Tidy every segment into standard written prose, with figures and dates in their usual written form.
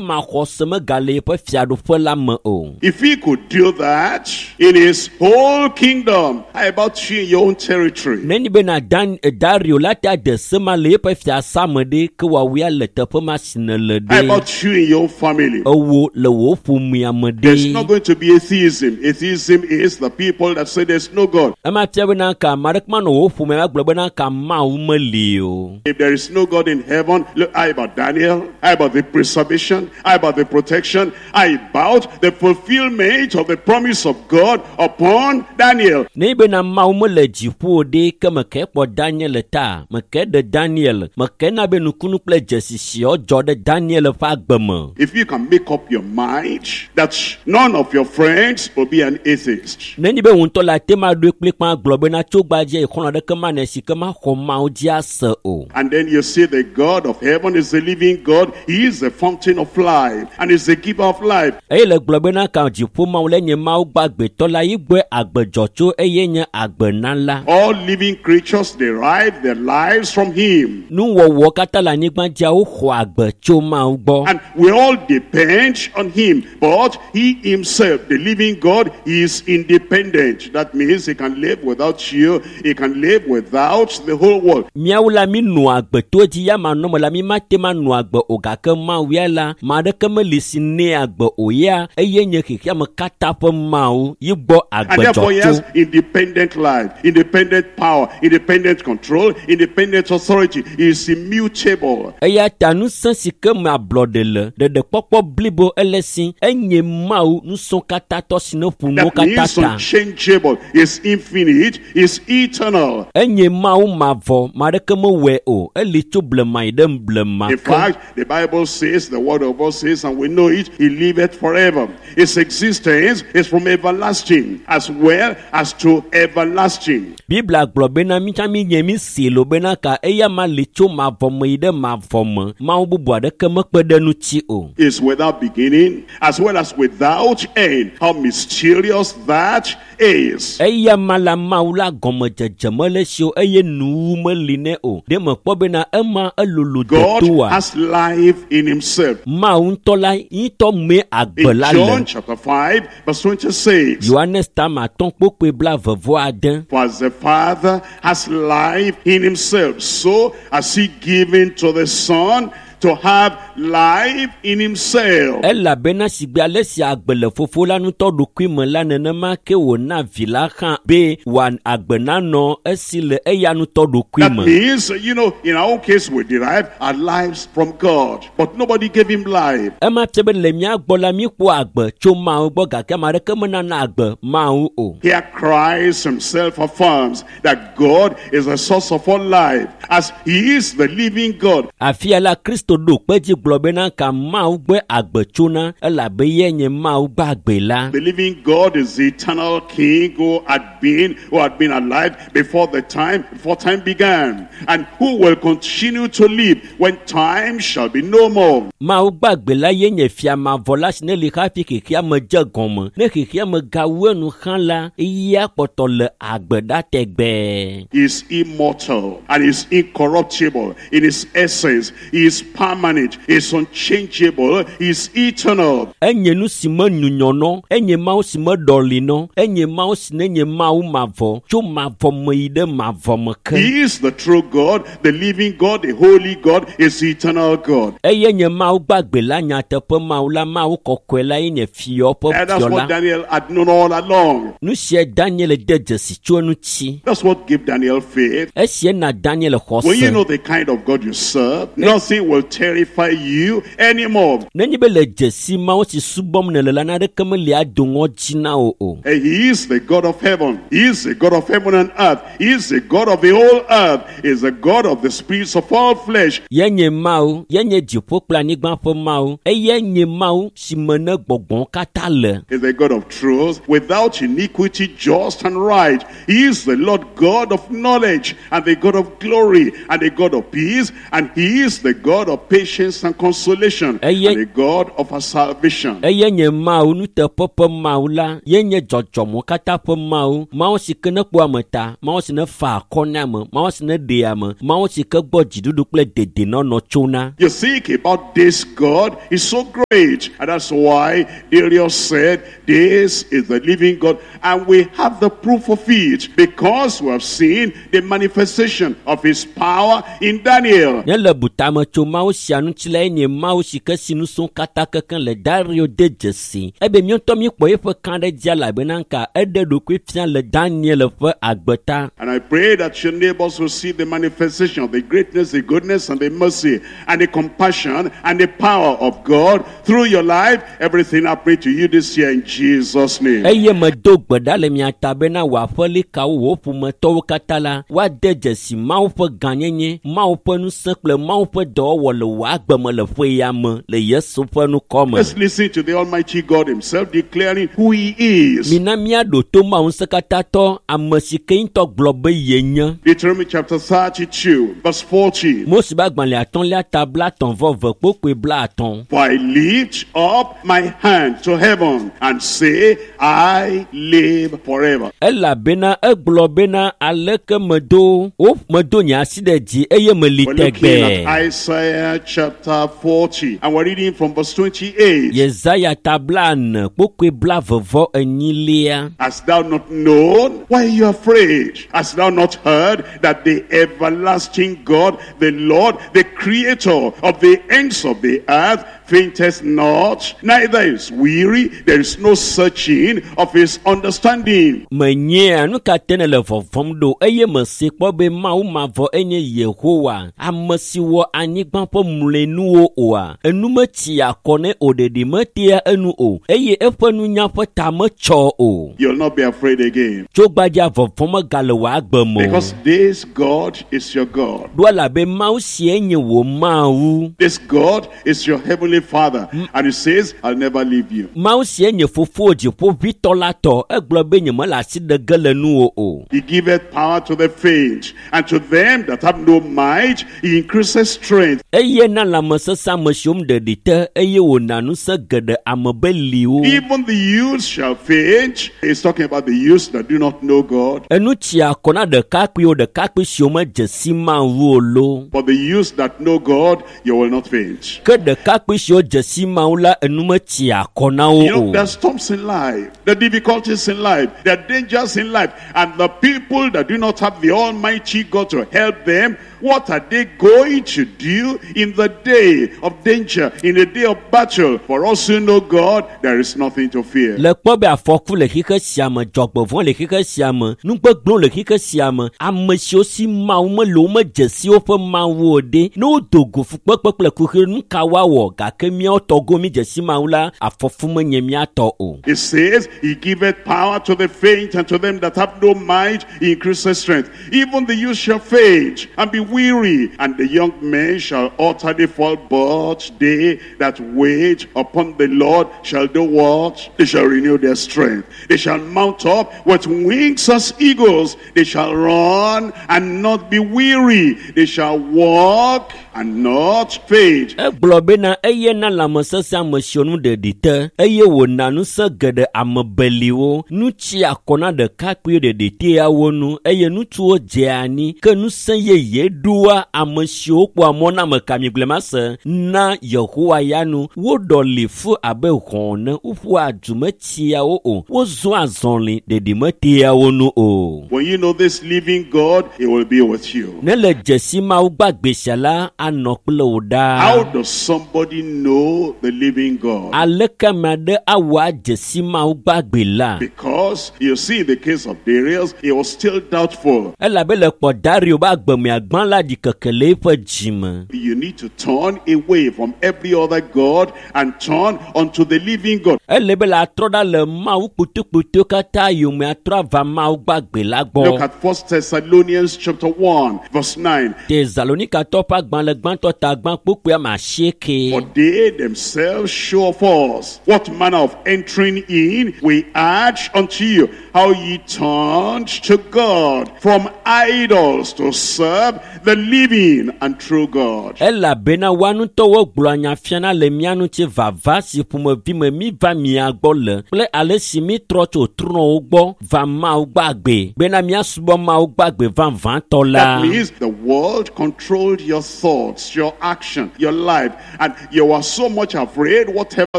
Dzimaxɔse megale yeƒe fiaɖuƒe la me o. If he could do that in his whole kingdom, how about you in your own territory? Nenye bena Dan Dario la ta de se ma le yeƒe fiasa me ɖe ke woawoe le teƒe ma si nèle How ɖe. about you in your own family? Ewo le wò ƒomea me There's not ɖe. going to be atheism. Atheism is the people that say there's no God. Ema fia bena ka ame aɖeke manɔ wò ƒomea me agblɔ bena ka Mawu meli o. If there is no God in heaven, look, how about Daniel? How about the preservation? How about the protection? How about the fulfillment of the promise of God upon Daniel? Nenye bena Mawu mele dziƒo o ɖe ke meke kpɔ Daniel ta, meke ɖe Daniel, meke na be nukunu kple dzesi siawo dzɔ ɖe Daniel ƒe agbe me. If you can make up your mind that none of your friends will be an atheist, Nenye be wò ŋutɔ le ate ma ɖoe kplikpã gblɔ bena tso gbadze yi xɔlɔ̃ aɖeke manɔ si ke maxɔ Mawu dzi ase o. and then you see the God of heaven is the living God, He is the fountain of life and is the giver of life. Eye le gblɔ bena ka dziƒo Mawu le nye Mawu gbãgbetɔ la yi gbɔe agbe dzɔ tso eye nye agbenala. All living creatures derive their lives from Him. Nuwɔwɔ katã le anyigba dzia woxɔ agbe tso Mawu gbɔ. And we all depend on him. But he himself, the living God, is independent. That means he can live without you. He can live without the whole world. Míawo la mi nɔa agbe to edzi ya manɔme la mi mate ma nɔ agbe o gake Mawu ya la ame aɖeke meli si nɛ agbe o ya eye nye xexeame katã ƒe Mawu yi gbɔ And agbe therefore he dzɔ has tso. independent life, independent power, independent control, independent authority. He is immutable. Eya ta ŋusẽ si ke me ablɔɖe le, ɖeɖekpɔkpɔ blibo ele si, enye Mawu ŋusẽ katãtɔ si ne ƒo nuwo That katã means ta. unchangeable. He is infinite. He is eternal. Enye Mawu mavɔ, ame aɖeke mewɔe o, eli tso blema yi ɖe blema In ke. fact, the Bible says, the word of God says, and we know it, he liveth forever. His existence is from everlasting as well as to everlasting. Biblia gblɔ bena mi tsã mi nye mi si lo bena ka eya ma li tso mavɔ me yi ɖe mavɔ me. Mawu bubu aɖeke mekpe ɖe ŋuti o. Is without beginning as well as without end. How mysterious that is. Eya ma la Mawu la gɔmedzedze mele si o eye nuwu meli nɛ o. Ɖe mekpɔ bena ema elolo God detoa. has life in himself. Mawu ŋutɔ la ŋutɔ mee agbe In la John le. chapter 5, verse 26. Yohanes tama atɔ̃ kpokpoe blaeve-vɔ-ade. For as the Father has life in himself, so has he given to the Son to have life in himself. Elabena sigbe ale si agbe le fofo la ŋutɔ ɖokui me la nenema ke wòna vi la hã be wòa agbe nanɔ esi le eya ŋutɔ ɖokui That me. means, in our own case, we derive our lives from God. But nobody gave him life. Ema fia be le mía gbɔ la míekpɔ agbe tso Mawu gbɔ gake ame aɖeke menana agbe Mawu o. Here Christ himself affirms that God is the source of all life, as he is the living God. Afia la Kristo ɖo kpe dzi gblɔ bena ka Mawu gbɔe agbe tsona elabe ye nye Mawu gbagbe la. The living God is the eternal King who had been alive before the time, before time began, and who will continue to live when time shall be no more. Mawu gbagbe la ye nye fia mavɔ la si ne li hafi xexea me dze gɔme. Ne xexea me gawu enu hã la, eya kpɔtɔ le agbe ɖa tegbee. He is immortal and is incorruptible in his essence. He is permanent, he is unchangeable, he is eternal. Enye nu si me nyunyɔnɔ, enye Mawu si me ɖɔlinɔ, enye Mawu si ne nye Mawu mavɔ, tso mavɔ me yi ɖe mavɔ me ke. He is the true God, the living God, the holy God, is the eternal God. Eye nye Mawu gbagbe la nyateƒe Mawu la Mawu kɔkɔe la ye nye fiɔ ƒe And that's fiɔ what la. Daniel had known all along. Nu sia Daniel de dzesi tso eŋuti. That's what gave Daniel faith. Esia na Daniel When you xɔse. know the kind of God you serve, nothing will terrify you anymore. Nenye be le dzesi Mawu si subɔm nèle la naneke meli ado ŋɔdzi na wò o. And he is the God of heaven. He is the God of heaven and earth. He is the God of the whole earth. He is the God of the spirits of all flesh. Ye nye Mawu, ye nye dziƒo kple anyigba ƒe Mawu. Eye nye Mawu si me ne gbɔgbɔwo katã le. He is the God of truth, without iniquity, just and right. He is the Lord God of knowledge, and the God of glory, and the God of peace, and he is the God of of patience and consolation, and the God of our salvation. Eye nye Mawu nuteƒe ƒe Mawu la, ye nye dzɔdzɔmɔ katã ƒe Mawu, Mawu si ke ne kpɔa ame ta, Mawu si ne fa akɔ na ame, Mawu si ne ɖea ame, Mawu si ke gbɔ dziɖuɖu kple dedenɔnɔ tsona. You think about this God is so great, and that's why Darius said, "This is the living God," and we have the proof of it because we have seen the manifestation of his power in Daniel. Ne le butame tso Mawu sia ŋuti la, enye Mawu si ke si nusẽ katã kekeŋ le Dario de dzesi. Ebe míaŋutɔ míekpɔ eƒe kãɖedzia elabena ŋka eɖe ɖokui fia le Daniel ƒe agbe ta. And I pray that your neighbors will see the manifestation of the greatness, the goodness, and the mercy, and the compassion, and the power of God through your life. Everything I pray to you this year in Jesus' name. Eye medo gbe ɖa le mia ta bena wò aƒelikawo, wò ƒometɔwo katã la, woade dzesi Mawu ƒe gãnyenye, Mawu ƒe ŋusẽ kple Mawu ƒe dɔwɔwɔ le wò agbe me le ƒe ya me le Yesu ƒe ŋkɔ me. Let's listen to the Almighty God himself declaring who he is. Mina míaɖo to Mawu ŋusẽkatãtɔ, ame si ke ŋutɔ gblɔ be yenye. Deuteronomy chapter 32, verse 14. Mose ƒe agbalẽ atɔ̃lia ta 33 kpokpoe 50. For I lift up my hand to heaven and say, I live forever. Elabena egblɔ bena aleke medo wo medo nye asi ɖe dzi eye meli We're looking tɛgbɛɛ. at Isaiah chapter 40, and we're reading from verse 28. Yesaya ta 40 kpokpoe 44. Hast thou not known? Why are you afraid? Hast thou not heard that the everlasting God, the Lord, the creator of the ends of the earth, fainteth not, neither is weary, there is no searching of his understanding. Menyea nu ka te nèle vɔvɔ̃m ɖo eye mese kpɔ be Mawu mavɔ enye Yehowa, ame si wɔ anyigba ƒe mlɔenuwo oa. Enu metsia akɔ nɛ o, ɖeɖi metea enu o eye eƒe nunya ƒe ta metsɔ o. You'll not be afraid again. Tso gbadza vɔvɔ̃ megale wò agbe me o. Because this God is your God. Ɖo elabe Mawu sie nye wò Mawu. This God is your heavenly Father. And he says, I'll never leave you. Mawu sie nye fofo dziƒoʋĩtɔ la tɔ. Egblɔ be nyemele asi ɖe ge le nuwò o. He giveth power to the faint, and to them that have no might, he increaseth strength. Eye na lãmesesẽ ame siwo ɖeɖi te eye wòna ŋusẽ geɖe ame beliwo. Even the youths shall faint. He's talking about the youths that do not know God. Enu tsia akɔ na ɖekakpuiwo ɖekakpui siwo medze si Mawu o lo. But the youths that know God, you will not faint. Ke ɖekakpui siwo dze si Mawu la enu metsia akɔ na wo You know, o. there are storms in life, the difficulties in life, there are dangers in life, and the people that do not have the Almighty God to help them, what are they going to do in the day of danger, in the day of battle? For us who know God, there is nothing to fear. Le kpɔ be afɔku le xixe sia me, dzɔgbevɔ̃ le xixe sia me, nugbegblẽ le xixe sia me, ame siwo si Mawu mele wo medze si woƒe Mawu o ɖe, ne wodo go fukpekpe kple kuxi nu ka woawɔ gake míawo tɔgo mi dze si Mawu la, afɔfu menye mía tɔ o. It says, He giveth power to the faint, and to them that have no might, He increaseth strength. Even the youth shall faint and be weary, and the young men shall utterly fall. But they that wait upon the Lord shall do what? They shall renew their strength. They shall mount up with wings as eagles. They shall run and not be weary. They shall walk and not faint. Egblɔ bena eye na lãmesesẽ ame siwo nu ɖeɖi te eye wòna ŋusẽ geɖe ame beliwo. Nu tsi akɔ na ɖekakpuiwo ɖeɖi tea wo nu eye ŋutsuwo dzea anyi ke ŋusẽ yeye ɖoa ame siwo kpɔa mɔ na ame ka migblẽ ma se na Yehowa ya nu. Woɖɔli fu abe hɔ̃ ene, woƒua du metsia wo o, wozɔa azɔli ɖeɖi metea wo nu o. When you know this living God, He will be with you. Ne le dzesi Mawu gbagbe sia la, anɔ kple wò ɖaa. How does somebody know the living God? Aleke ame aɖe awɔ adze si Mawu gbagbe la? Because you see, in the case of Darius, he was still doubtful. Elabe le kpɔ Dario be agbemea gbã la ɖikeke le eƒe dzime. You need to turn away from every other God and turn unto the living God. Ele be la trɔ ɖa le Mawu kpotokpoto katã yome atrɔ ava Mawu gbagbe la Look gbɔ. at 1 Thessalonians chapter 1, verse 9. Tesalonikatɔ ƒe agbalẽ gbãtɔ ta gbã kpokpoe ame asieke. For they themselves show of us what manner of entering in we urge unto you, how ye turned to God from idols to serve the living and true God. Elabena woa ŋutɔwo gblɔa nya fiana le mía ŋuti vava si ƒomevi me mi va mia gbɔ le kple ale si mi trɔ tso trɔ̃wo gbɔ va Mawu gbagbe bena míasubɔ Mawu gbagbe vavãtɔ la. That means the world controlled your thoughts, your action, your life, and you were so much afraid whatever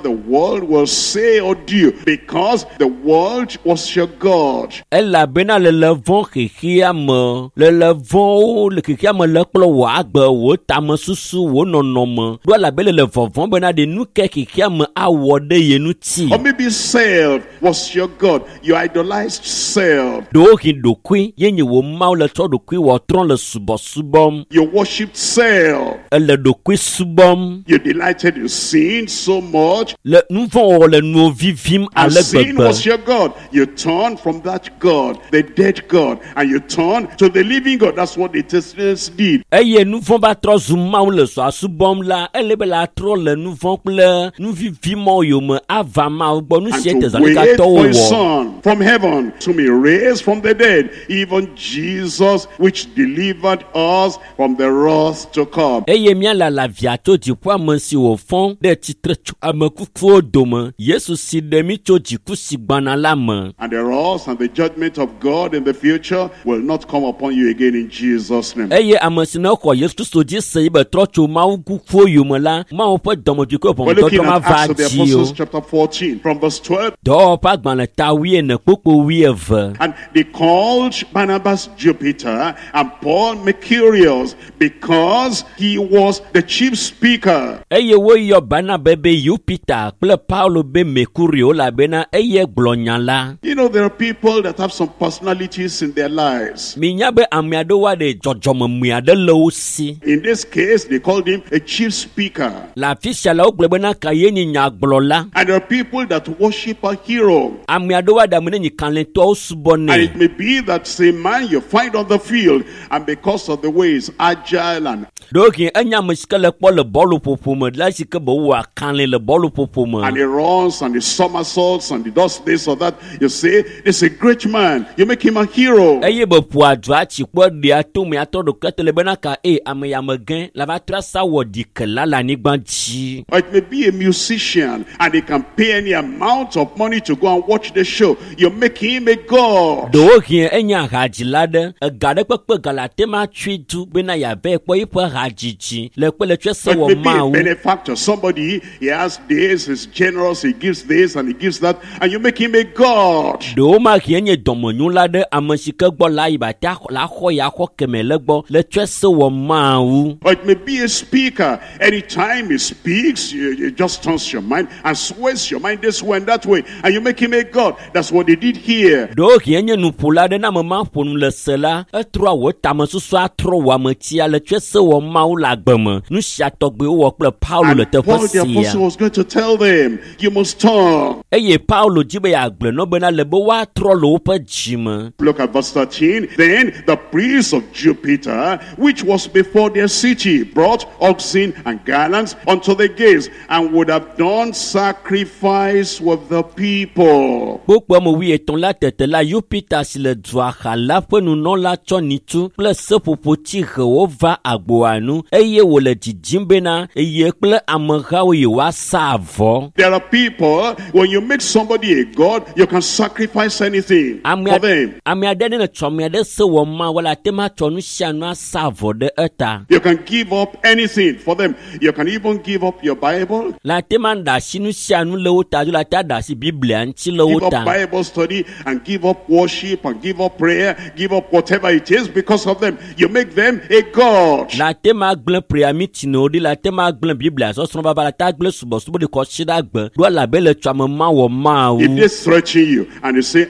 the world will say or do, because the world was your God. Elabena lele vɔ̃ xexea me, lele vɔ̃wo le xexea me le kplɔ wò agbe, wò tamesusu, wò nɔnɔme ɖo elabe le vɔvɔ̃ bena ɖe nu ke xexea me awɔ ɖe ye ŋuti. Or maybe self was your God. You idolized self. Ɖewohĩ ɖokui ye nye wò Mawu le tsɔ ɖokui wɔ trɔ̃ le subɔsubɔm. You worshipped self. Ele ɖokui subɔm. You delighted in sin so much. Le nu vɔ̃ wɔwɔ le nuwo vivim And ale sin gbegbe. was your God. You turned from that God, the dead God, and you turned to the living God. That's what the Thessalonians did. Eye nu vɔ̃ va trɔ zu Mawu le zɔa subɔm la, ele be la trɔ le nu vɔ̃ kple nu vivi mɔ yome ava Mawu gbɔ. Nu And sie to wait Tesalonikaatɔwo for his wɔ. son from heaven, to be raised from the dead, even Jesus, which delivered us from the wrath to come. Eye míalala via tso dziƒo ame si wòfɔ ɖe tsitre tso ame kukuwo dome, Yesu si ɖe mí tso dziku si gbɔna la me. And the wrath and the judgment of God in the future will not come upon you again in Jesus' name. Eye ame si ne xɔ Yesu Kristo dzi se yi be trɔ tso Mawu kukuwo yome la, Mawu ƒe dɔmedzoe kple We're looking ʋɔnudɔdrɔ̃ at mava Acts of the dzi o. Apostles chapter 14 from verse 12. Dɔwɔwɔ ƒe agbalẽ ta wuiene kpukpu wuieve. And they called Barnabas Jupiter and Paul Mercurius because he was the chief speaker. Eye woyɔ Barnaba be Yupita kple Paulo be Mekurio elabena eye gblɔ nya la. You know, there are people that have some personalities in their lives. Minya be ame aɖewo aɖe dzɔdzɔmemui aɖe le wo si. In this case, they called him a chief speaker. Le afi sia la wogblɔ bena ka ye nye nyagblɔla. And there are people that worship a hero. Ame aɖewo aɖe ame ne nyi kalẽtɔwo And subɔnɛ. it may be that same man you find on the field, and because of the way he's agile and, Ɖewohĩ enye ame si ke le kpɔ le bɔluƒoƒo me le esi ke be wowɔa kalẽ le bɔluƒoƒo me. and he runs and he somersaults and he does this or that. You say, this is a great man. You make him a hero. Eye be ƒoa du atsi kpɔ ɖea tome atrɔ ɖokuia te le bena ka eye ame ya me gẽ la va trɔ asa wɔ ɖikela le anyigba dzi. Or it may be a musician and he can pay any amount of money to go and watch the show. You make him a god. Ɖewohĩ enye hadzila ɖe ega ɖe kpekpe ga le ate ma tsui du bena yeava kpɔ eƒe hadzidzi le kpe le tsɔe se Or wɔ it may be a Mawu. benefactor, somebody, he has this, he's generous, he gives this and he gives that, and you make him a god. Ɖewomahi enye dɔmenyula ɖe ame si ke gbɔ la yi ba te axɔ- la xɔ ya xɔ keme le gbɔ le tsɔe se wɔ Mawu. Or it may be a speaker. Anytime he speaks, it just turns your mind and sways your mind this way and that way, and you make him a god. That's what they did here. Ɖewohĩ enye nuƒola ɖe ne ame ma ƒo nu le se la, etrɔa wò tamesusu atrɔ wò ametia le tsɔe se wɔ Mawu le agbe me. Nu sia tɔgbi wowɔ kple Paulo le And teƒe Paul the sia. apostle was going to tell them, you must turn. Eye Paulo dzi be yeagblɔ na wo bena le be woatrɔ le woƒe dzime. Look at verse 13. Then the priest of Jupiter, which was before their city, brought oxen and garlands unto the gates, and would have done sacrifice with the people. Kpokpo ame wuietɔ̃ la tete la Yupita si le dua xa la ƒe nunɔla tsɔ nyitu kple seƒoƒotsihewo va agboa nu eye wòle dzidzim bena eye kple amehawo yewoasa avɔ. There are people, when you make somebody a god, you can sacrifice anything Ame for them. ame aɖe ne le tsɔ ame aɖe se wɔ Mawu la ate ma tsɔ nu sia nu asa avɔ ɖe eta. You can give up anything for them. You can even give up your Bible, Le ate ma ɖe asi nu sia nu le wo ta dzo le ate aɖe asi Biblia ŋuti le wo give up ta. Bible study, and give up worship, and give up prayer, give up whatever it is because of them. You make them a god. Le ate ma gblẽ prayer meeting-wo ɖi, le ate ma gblẽ Biblia sɔsrɔ̃ vava, le ate agblẽ subɔsubɔ ɖi kɔ tsi ɖe agbe ɖo elabe le tsɔ ame ma wɔ Mawu. If they threaten you and they say,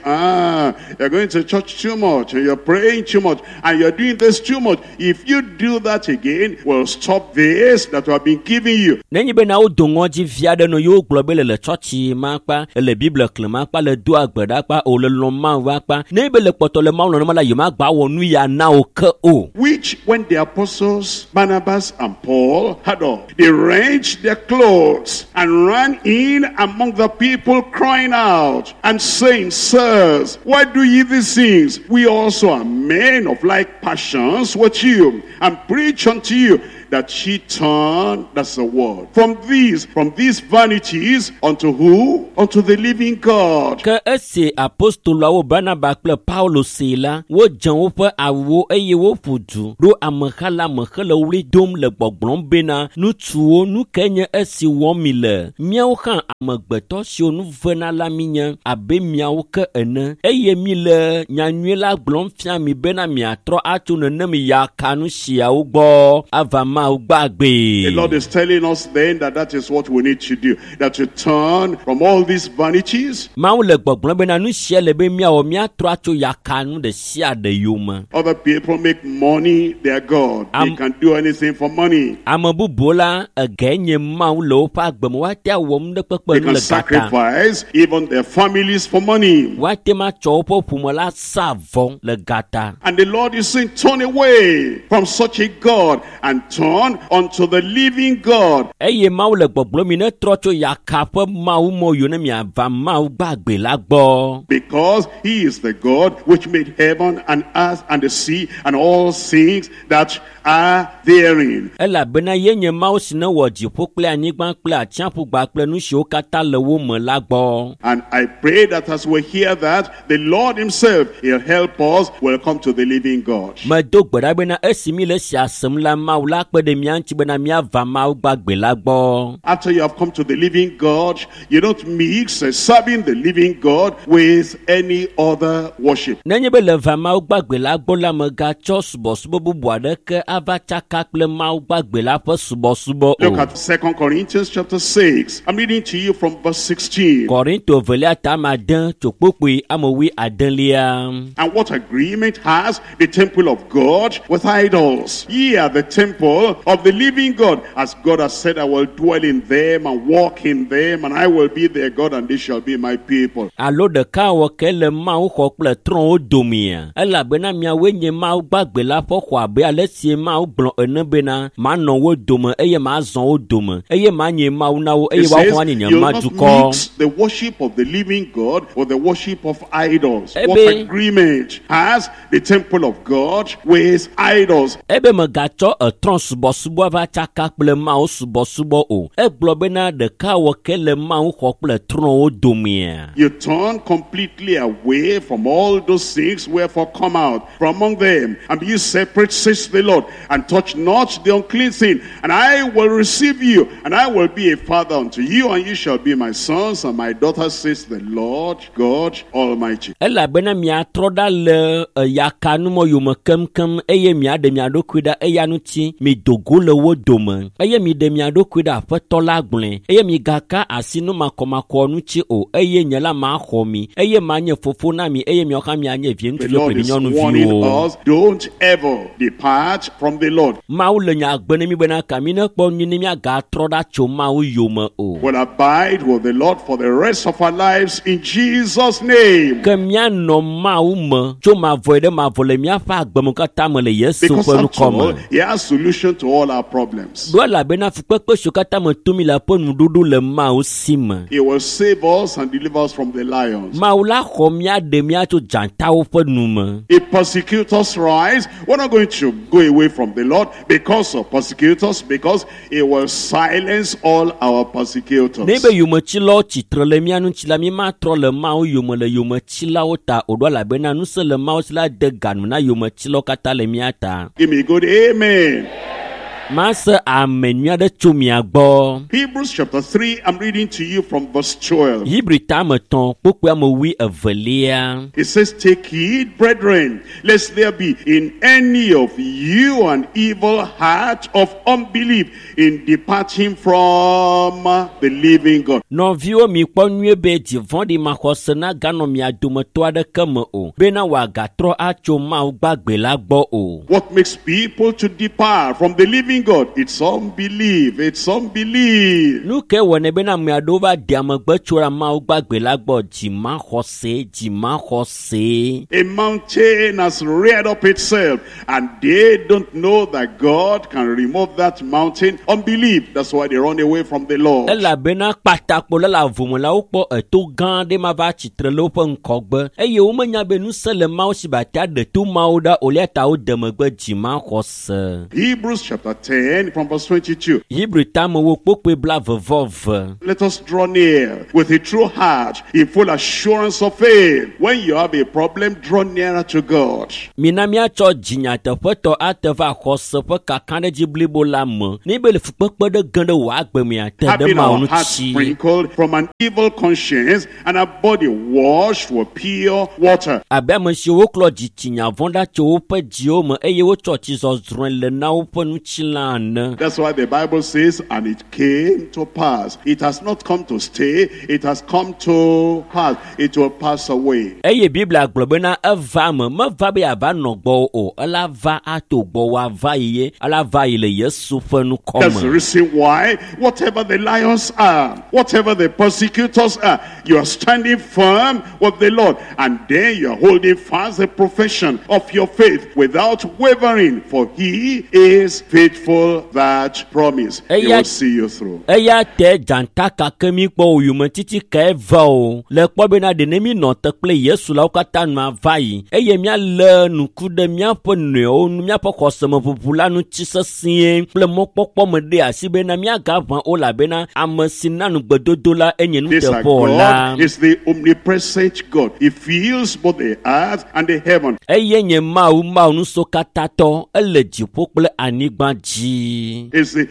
you're going to church too much, and you're praying too much, and you're doing this too much, if you do that again, we'll stop this that we have been giving you. Nenye bena wodo ŋɔdzi vi aɖe nɔ yewo gblɔ be le le tsɔtsi ma kpa, le Biblia xlẽm akpa, le do agbe ɖa akpa, o le lɔ̃ Mawu akpa. Nenye be le kpɔtɔ le Mawu lɔ̃m la, yemagba wɔ nu ya na wo ke o. Which, when the apostles Barnabas and Paul had all, they wrenched their clothes and ran in among the people, crying out and saying, Sirs, why do ye these things? We also are men of like passions with with you and preach unto you that ye turn, that's the word, from these vanities unto who? Unto the living God. Ke esi apostoloawo Barnaba kple Paulo see la, wodze woƒe awuwo eye woƒu du ɖo ameha la me hele ɣli dom le gbɔgblɔm bena, ŋutsuwo, nu kae nye esi wɔm mi le? Míawo hã amegbetɔ siwo nu vena la míenye abe miawo ke ene, eye míle nyanyui la gblɔm fia mi bena miatrɔ atso nenem yakanu siawo gbɔ ava Mawu gbagbe. The Lord is telling us then that that is what we need to do, that to turn from all these vanities. Mawu le gbɔgblɔm bena nu sia le be míawɔ míatrɔ atso yakanu ɖe sia ɖe yome. Other people make money their God. They can do anything for money. Ame bubuwo la ege nye Mawu le woƒe agbe me, woate awɔ nu ɖe kpekpe They nu can le gata. sacrifice even their families for money. Woate ŋu atsɔ woƒe ƒome la sa vɔ le gata. And the Lord is saying, turn away from such a God and turn unto the living God. Eye Mawu le gbɔgblɔm mi ne trɔ tso yaka ƒe Mawu mɔ yiwo ne miava Mawu gbagbe la gbɔ. Because he is the God which made heaven and earth and the sea and all things that are therein. Elabena ye nye Mawu si ne wɔ dziƒo kple anyigba kple atsiaƒu kple nu siwo katã le wo me la gbɔ. And I pray that as we hear that, the Lord himself, he'll help us, will come to the living God. Medo gbe ɖa bena esi mi le esia sem la, Mawu la kpe ɖe mía ŋuti bena míava Mawu gbagbe la gbɔ. After you have come to the living God, you don't mix serving the living God with any other worship. Nenye be le va Mawu gbagbe la gbɔ la, megatsɔ subɔsubɔ bubu aɖeke ava tsaka kple Mawu gbagbe la ƒe subɔsubɔ o. Look at 2 Corinthians chapter 6. I'm reading to you from verse 16. Korinto evelia ta ame ade tso kpokpoe ame wui adelia. And what agreement has the temple of God with idols? Ye are the temple of the living God. As God has said, I will dwell in them and walk in them, and I will be their God, and they shall be my people. Alo ɖeka wɔ ke le Mawu xɔ kple trɔ̃wo domea? Elabena miawoe nye Mawu gbagbe la ƒe xɔ abe ale si Mawu gblɔ ene bena, manɔ wo dome eye mazɔ wo dome eye manye Mawu na wo eye It says, woaxɔ anyi nye you'll not madukɔ. mix the worship of the living God with the worship of idols. What Ebe- agreement has the temple of God with idols? Ebe megatsɔ etrɔ̃ subɔsubɔ va tsaka kple Mawu subɔsubɔ o. Egblɔ bena ɖeka wɔ ke le Mawu xɔ kple trɔ̃wo domea. You turn completely away from all those things, wherefore come out from among them, and be ye separate, says the Lord, and touch not the unclean thing, and I will receive you, and I will be a father unto you, and you shall be my sons and my daughters, says the Lord God Almighty. Elabena miatrɔ ɖa le yakanumɔ yome keŋkeŋ eye miaɖe mia ɖokui ɖa eya ŋuti mido go le wo dome eye miɖe mia ɖokui ɖe Aƒetɔ la gblɔe eye migaka asi nu makɔmakɔ ŋuti o eye nye la maxɔ mi eye manye fofo na mi eye miawo hã mianye vi The ŋutsuviwo Lord kple vi is warning nyɔnuviwo. us, don't ever depart from the Lord. Mawu le nya gbe ne mi bena ka mi nekpɔ nyui ne miagatrɔ ɖa tso Mawu yome o. We'll abide with the Lord for the rest of our lives in Jesus' name. Ke míanɔ Mawu me tso mavɔe ɖe mavɔ le míaƒe agbeme katã me le Yesu Because ƒe after ŋkɔ all, me. he has solution to all our problems. Ɖo elabena fukpekpe siwo katã me tom mi le ƒe nuɖuɖu le Mawu si me. He will save us and deliver us from the lions. Mawu la xɔ mía ɖe mía tso dzatawo ƒe nu me. If persecutors rise, we're not going to go away from the Lord because of persecutors, because he will silence all our persecutors. Ne be yometsilawo tsitre le mía ŋuti la, mímatrɔ le Mawu yome le yometsilawo ta o ɖo elabena ŋusẽ le Mawu si la de ganu na yometsilawo katã le mía ta. Give me a good amen. Mase ame nyui aɖe tso mia gbɔ. Hebrews chapter 3, I'm reading to you from verse 12. Hebri tame tɔn kpokpoe ame wui evelia. It says, Take heed, brethren, lest there be in any of you an evil heart of unbelief in departing from the living God. Nɔviwo mi kpɔ nyuie be dzi vɔ̃ɖi maxɔse naganɔ mia dometɔ aɖeke me o bena wòagatrɔ atso Mawu gbagbe la gbɔ o. What makes people to depart from the living living God? It's unbelief. It's unbelief. Nu ke wɔnɛ bena ame aɖewo va de amegbe tso ɖe Mawu gbagbe la gbɔ dzimaxɔse dzimaxɔse. A mountain has reared up itself, and they don't know that God can remove that mountain. Unbelief. That's why they run away from the Lord. Elabena kpatakpo le le avome la wokpɔ eto gã aɖe ma va tsitre le woƒe ŋkɔgbe eye womenya be ŋusẽ le Mawu si be ate aɖe to mawo ɖa o eya ta wode megbe dzimaxɔse. Hebrews chapter 10, from verse 22. Hebrew tamewo kpokpoe 22. Let us draw near with a true heart, in full assurance of faith. When you have a problem, draw nearer to God. Mina míatsɔ dzinyateƒetɔ ate va xɔse ƒe kakaɖedzi blibo la me. Ne be le fukpekpe ɖe ge ɖe wò agbe mea, te ɖe Having Mawu our hearts ŋuti. sprinkled from an evil conscience and our body washed with pure water. Abe ame siwo woklɔ dzitsinya vɔ̃ ɖa tso woƒe dziwo me eye wotsɔ tsi zɔzrɔ̃e le na woƒe ŋutilã ene. That's why the Bible says, and it came to pass. It has not come to stay, it has come to pass. It will pass away. Eye Biblia gblɔ bena eva me, meva be yeava nɔ gbɔwò o, ela va ato gbɔwò ava yi ye, ela va yi le Yesu ƒe ŋkɔ That's the me. reason why, whatever the lions are, whatever the persecutors are, you are standing firm with the Lord. And then you are holding fast the profession of your faith without wavering, for he is faithful that promise. He Eya- will see you through. Eya te dzata kake mi kpɔ o yometiti kae va o. Le kpɔ bena ɖe ne mi nɔ te kple Yesu la wo katã nua va yi eye míalé ŋku ɖe míaƒe nɔewo nu míaƒe xɔsemeʋuʋu la ŋuti sesĩe kple mɔkpɔkpɔ me ɖe asi bena míagaʋã o elabena ame si na nugbedodo la enye This our nuteƒewɔla. God is the omnipresent God. He fills both the earth and the heaven. Eye nye Mawu Mawu nusɔkatatɔ ele dziƒo kple anyigba dzi. Is the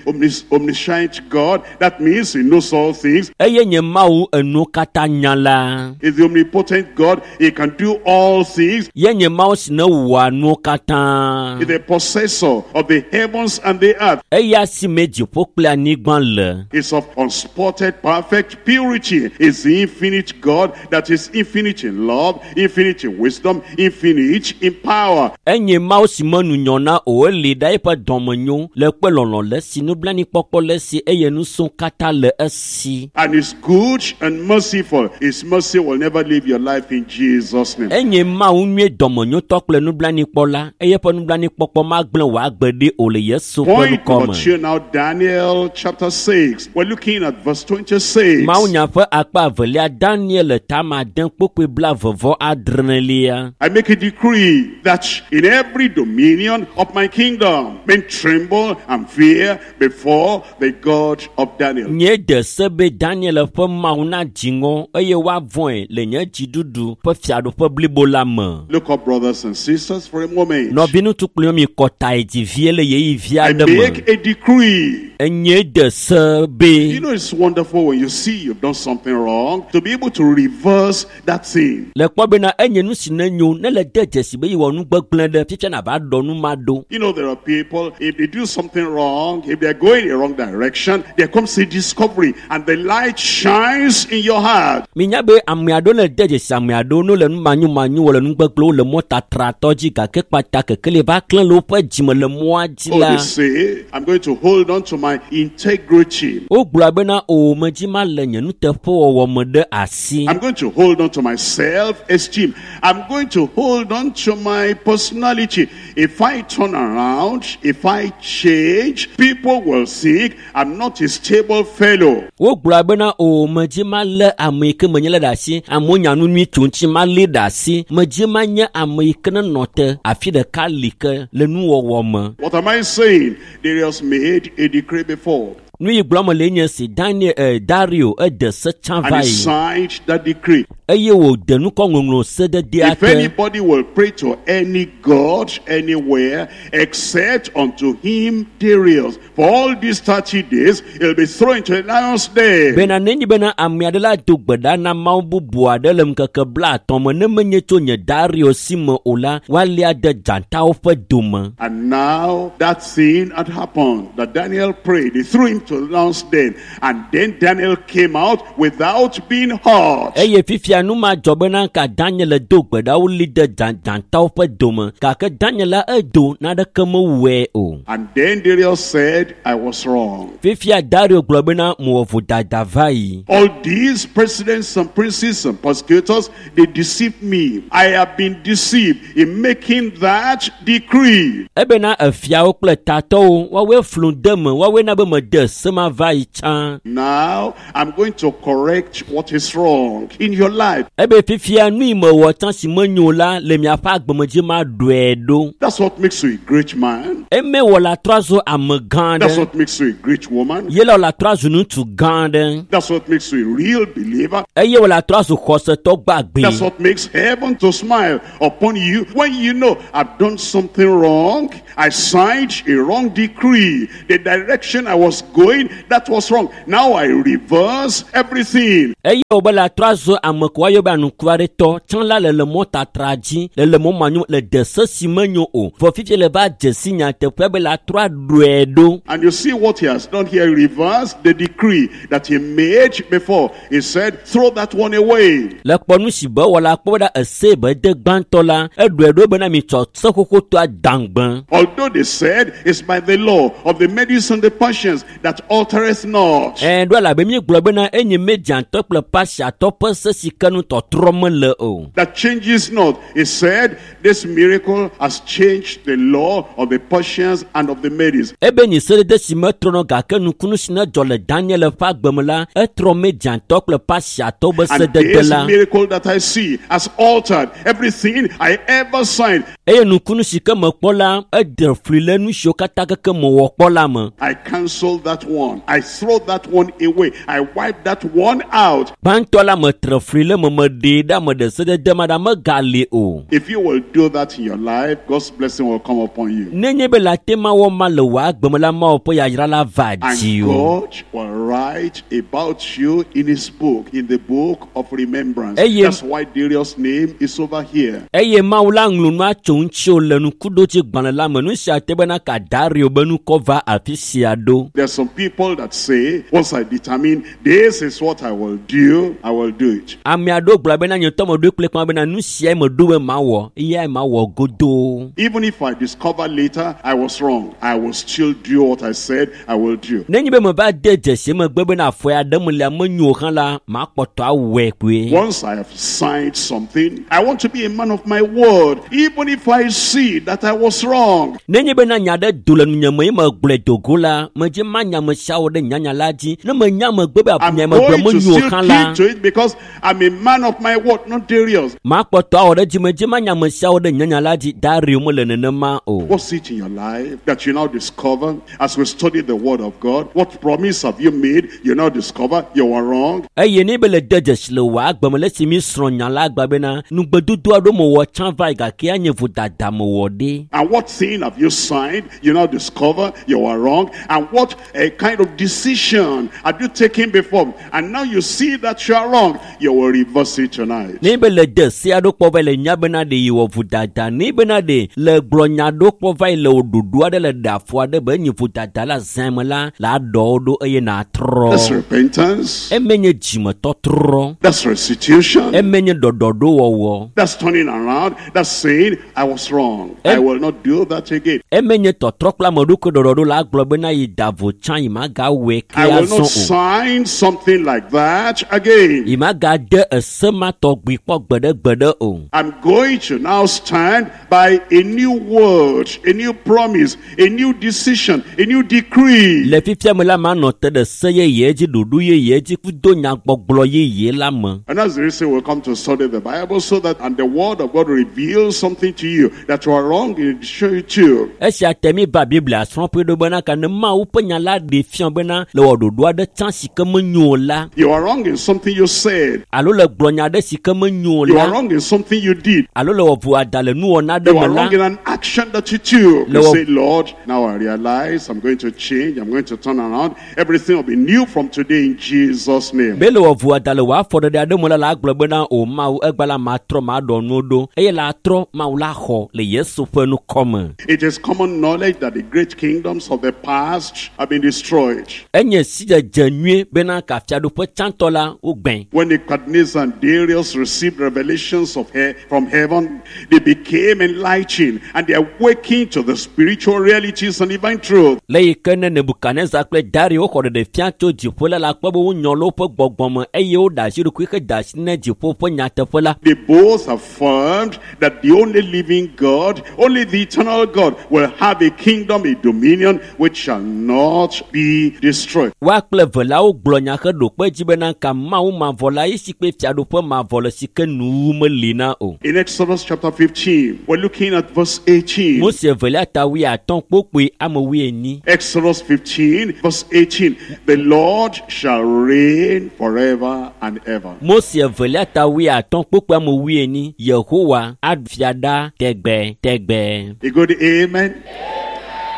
omniscient God. That means he knows all things. Eye nye Mawu enuwo katã nya la. Is the omnipotent God. He can do all things. Ye nye Mawu si ne wɔa nuwo katã. Is the possessor of the heavens and the earth. Eya si me dziƒo kple anyigba le. Is of unspotted perfect purity. Is the infinite God that is infinite in love, infinite in wisdom, infinite in power. Enye Mawu si me nunyɔna o eli ɖa eƒe dɔmenyo le kpe lɔlɔ̃ le esi nublanuikpɔkpɔ le esi eye nusẽ katã le esi. And is good and merciful. His mercy will never leave your life in Jesus' name. Enye Mawu nyuie dɔmenyotɔ kple nublanuikpɔla eye eƒe nublanuikpɔkpɔ magblẽ wò agbe ɖi o le Yesu ƒe Point ŋkɔ number me. 2 now, Daniel chapter 6. We're looking at verse 26. Mawunya ƒe akpa evelia Daniel tama ade kpokpoe 26. I make a decree that in every dominion of my kingdom, men tremble and fear before the God of Daniel. Nye de se be Daniel ƒe Mawu nadzi ŋɔ eye woavɔ̃e le nye dziɖuɖu ƒe fiaɖuƒe blibo la me. Look up, brothers and sisters, for a moment. Nɔviŋutsu kple mi kɔta yi dzi vie le ɣeyiɣi vi I aɖe me. make a decree. Enye de se be You know, it's wonderful when you see you've done something wrong to be able to reverse that thing. le kpɔ bena enye nu si ne nyo ne le de dzesi be yewɔ nu gbegblẽ ɖe fifia nava ɖɔ nu ma ɖo. You know, there are people, if they do something wrong, if they're going the wrong direction, there comes a discovery and the light shines in your heart. Minya be ame aɖewo le de dzesi ame aɖewo no le nu manyomanyo wɔ le nu gbegblẽwo le mɔtatratɔ dzi gake kpata kekeli va klẽ le woƒe dzime le mɔa dzi Oh, la. they say, I'm going to hold on to my integrity. Wogblɔ bena o medzi ma le nye nuteƒewɔwɔ me ɖe asi. I'm going to hold on to my self-esteem. I'm going to hold on to my personality. If I turn around, if I change, people will think I'm not a stable fellow. Wogblɔ bena o medzi ma lé ame yi ke menye le ɖe asi. Amewo nya nu nyui tso ŋuti ma lé ɖe asi. Medzi ma nye ame yi ke nenɔ te afi ɖeka li ke le nuwɔwɔ me. What am I saying? Darius made a decree before. Nu yi gblɔm le nye si Daniel Dario ede se tsã And va he yi signed that decree. eye wòde nukɔŋɔŋlɔ sededea If te. anybody will pray to any god anywhere except unto him Darius, for all these 30 days, he'll be thrown into a lion's den. Bena nenye bena ame aɖe la do gbe ɖa na mawu bubu aɖe le ŋkeke 50 me ne menye tso nye Dario si me o la, woalia de dzatawo ƒe dome. And now that thing had happened that Daniel prayed. They threw him to the lion's den. And then Daniel came out without being hurt. Eye fifia Fifia nu ma dzɔ bena ka Daniel le do gbe ɖa woli de dzatawo ƒe dome gake Daniel la edo naneke mewɔe o. And then Darius said, I was wrong. Fifia Dario gblɔ bena mewɔ vodada va yi. All these presidents and princes and persecutors, they deceived me. I have been deceived in making that decree. Ebena efiawo kple tatɔwo woawoe flu de me woawoe na be mede se ma va yi tsã. Now I'm going to correct what is wrong in your life. Ebe fifia nu yi mewɔ tsã si menyo la le miaƒe agbemedzi ma ɖɔe ɖo. That's what makes you a great man. Eme wɔ la trɔ zu ame gã That's aɖe. what makes you a great woman. Ye la wɔ la trɔ zu ŋutsu gã aɖe. That's what makes you a real believer. Eye wɔ la trɔ zu xɔsetɔ That's gbagbe. what makes heaven to smile upon you when you know I've done something wrong. I signed a wrong decree. The direction I was going, that was wrong. Now I reverse everything. Eye wɔ be la trɔ zu ame ko woayɔ be anukuaretɔ tsã la le le mɔtatra dzi le le mɔ manyo le de se si menyo o. Vɔ fifia le va dze si nyateƒea be la trɔ aɖɔe ɖo. And you see what he has done here. He reversed the decree that he made before. He said, throw that one away. Le kpɔ nu si be wɔ la kpɔ be ɖa ese be de gbãtɔ la eɖɔe ɖo bena mitsɔ se xoxotɔa dãgbe. Although they said it's by the law of the Medes and the Persians that altereth not. Ɛɛ ɖo elabe míegblɔ bena enye Mediatɔ kple Pasiatɔ ƒe se si ke nu tɔtrɔ mele o. That changes not. He said this miracle has changed the law of the Persians and of the Medes. Ebe nyi sedede si metrɔnɔ gake nukunu si ne dzɔ le Daniel ƒe agbe me la etrɔ Mediatɔ kple Pasiatɔwo be And sedede this la. miracle that I see has altered everything I ever signed. Eye nukunu si ke mekpɔ la eɖe fli le nu siwo katã keke mewɔ kpɔ la me. I cancel that one. I throw that one away. I wipe that one out. Gbãtɔ la metre fli le me meɖee ɖa meɖe sedede ma ɖa megali o. If you will do that in your life, God's blessing will come upon you. Nenye be le ate ma wɔ ma le wò agbe me la Mawu ƒe yayra la va And dzi o. God will write about you in his book, in the book of remembrance. Eye- That's why Darius' name is over here. Eye Mawu la ŋlɔ nua tso ŋutiwò le nukuɖodzi gbalẽ la me. Nu sia te bena ka Dario be nukɔ va afi sia ɖo. There are some people that say, once I determine this is what I will do, I will do it. Ame aɖewo gblɔ bena nye ŋutɔ meɖoe kple kpã bena nu siae meɖo be mawɔ eyae mawɔ godoo. Even if I discover later I was wrong, I will still do what I said I will do. Nenye be meva de dzesi megbe bena afɔ ya ɖem lia menyo o hã la, makpɔtɔ awɔe kpoe. Once I have signed something, I want to be a man of my word, even if I see that I was wrong. Nenye bena nya ɖe do le nunye me ye megblɔe do go la, medze manya ame siawo ɖe nyanya la dzi. Ne menya megbe be I'm nya megblɔ going to menyo o still hã la, keep to it because I'm a man of my word, not Darius. makpɔtɔ awɔ ɖe dzi medze manya ame siawo ɖe nyanya la dzi. Dario mele nenema o. What's it in your life that you now discover as we study the word of God? What promise have you made? You now discover you were wrong. Eye ne be le de dzesi le wò agbe me le esi mi srɔ̃ nya la gba bena nugbedodo aɖewo mewɔ tsã va yi gake anye vodada mewɔ ɖe. And what thing have you signed? You now discover you were wrong. And what a kind of decision have you taken before? And now you see that you are wrong. You will reverse it tonight. Ne be le de se aɖewo kpɔ va yi le nya bena ɖe yi wɔ vodada ne bena ɖe le gblɔ nya aɖewo kpɔ va yi le wò ɖoɖo aɖe le ɖe afɔ aɖe be enye vodada la zã me la la aɖɔ wo ɖo eye nàtrɔ. That's repentance. Eme nye dzimetɔtrɔ. That's restitution. Eme nye ɖɔɖɔɖowɔwɔ. That's turning around. That's saying, I was wrong. I will not do that again. Eme nye tɔtrɔ kple ame ɖokui ɖɔɖɔɖo la gblɔ bena yi da vo tsã yi magawɔe ke I will azɔ not o. sign something like that again. Yi magade ese ma tɔgbi kpɔ gbeɖegbeɖe o. I'm going to now stand by a new word, a new promise, a new decision, a new decree. Le fifia me la manɔ te ɖe se yeye dzi, ɖoɖo yeye dzi kudo nyagbɔgblɔ yeye la me. And that's the reason we come to study the Bible so that and the word of God reveals something to you that you are wrong in show you to. Esia te mi va Biblia srɔ̃ƒe ɖo bena ka ne Mawu ƒe nya la ɖe fia bena le wɔ ɖoɖo aɖe tsã si ke menyo o la You are wrong in something you said. alo le gblɔ nya aɖe si ke menyo o You are la wrong in something you did. alo le wɔ vodada le nuwɔna aɖe You me are la wrong in an action that you took. You Le wɔ- say, Lord, now I realize I'm going to change. I'm going to turn around. Everything will be new from today in Jesus' name. be le wɔ vodada le wò afɔɖeɖe aɖe me la la agblɔ bena o Mawu egba la matrɔ maɖɔ nuwo ɖo eye la trɔ Mawu la xɔ le Yesu ƒe nukɔme. It is common knowledge that the great kingdoms of the past have been destroyed. Enye sidzedze nyuie bena ka fiaɖuƒe tsãtɔ la wogbẽ. When Nebuchadnezzar Nebuchadnezzar and Darius received revelations of from heaven, they became enlightened and they awakened to the spiritual realities and divine truth. Le yi ke ne Nebukadnezar kple Dario xɔ ɖeɖefia tso dziƒo la la kpɔ be wonyɔ le woƒe gbɔgbɔ me eye woɖe asi ɖokui hede asi ne dziƒo ƒe nyateƒe la. They both affirmed that the only living God, only the eternal God, will have a kingdom, a dominion, which shall not be destroyed. Woa kple eve la wogblɔ nya heɖo kpe edzi bena ka Mawu mavɔ la ye si kpe fiaɖuƒe mavɔ le si ke nuwuwu meli na o. In Exodus chapter 15, we're looking at verse 18. Mose evelia ta wuiatɔ̃ kpokpoe ame wuienyi. Exodus 15, verse 18. The Lord shall reign forever and ever. Mose evelia ta wuiatɔ̃ kpokpoe ame wuienyi. Yehowa aɖu fia ɖa tegbe tegbe. A good amen.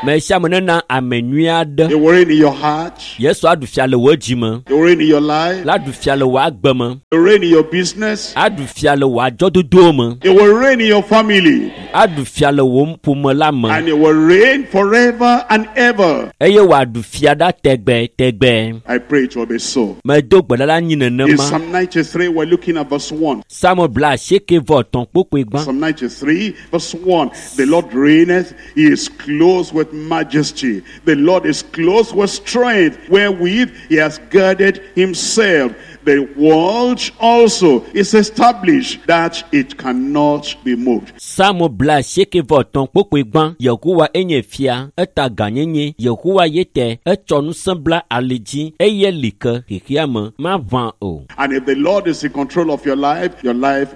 Me sia ame nena ame nyui aɖe. He will reign in your heart. Yesu aɖu fia le wò dzi me. He will reign in your life. La ɖu fia le wò agbe me. He will reign in your business. Aɖu fia le wò adzɔdodowo me. He will reign in your family. Aɖu fia le wò ƒome la me. And he will reign forever and ever. Eye wòaɖu fia ɖa tegbe tegbe. I pray it will be so. Medo gbe ɖa la anyi In nenema. Psalm 93, we're looking at verse 1. Psalm bla asieke vɔ etɔ̃ kpokpoe gbã. Psalm 93, verse 1. The Lord reigneth, he is clothed with majesty. The Lord is clothed with strength, wherewith he has girded himself. The world also is established that it cannot be moved. Psalm bla asieke vɔ etɔ̃ kpokpoe gbã. Yehowa enye fia, eta gãnyenye. Yehowa ye te, etsɔ ŋusẽ bla ali dzi eye li ke xexea me maʋã o. And if the Lord is in control of your life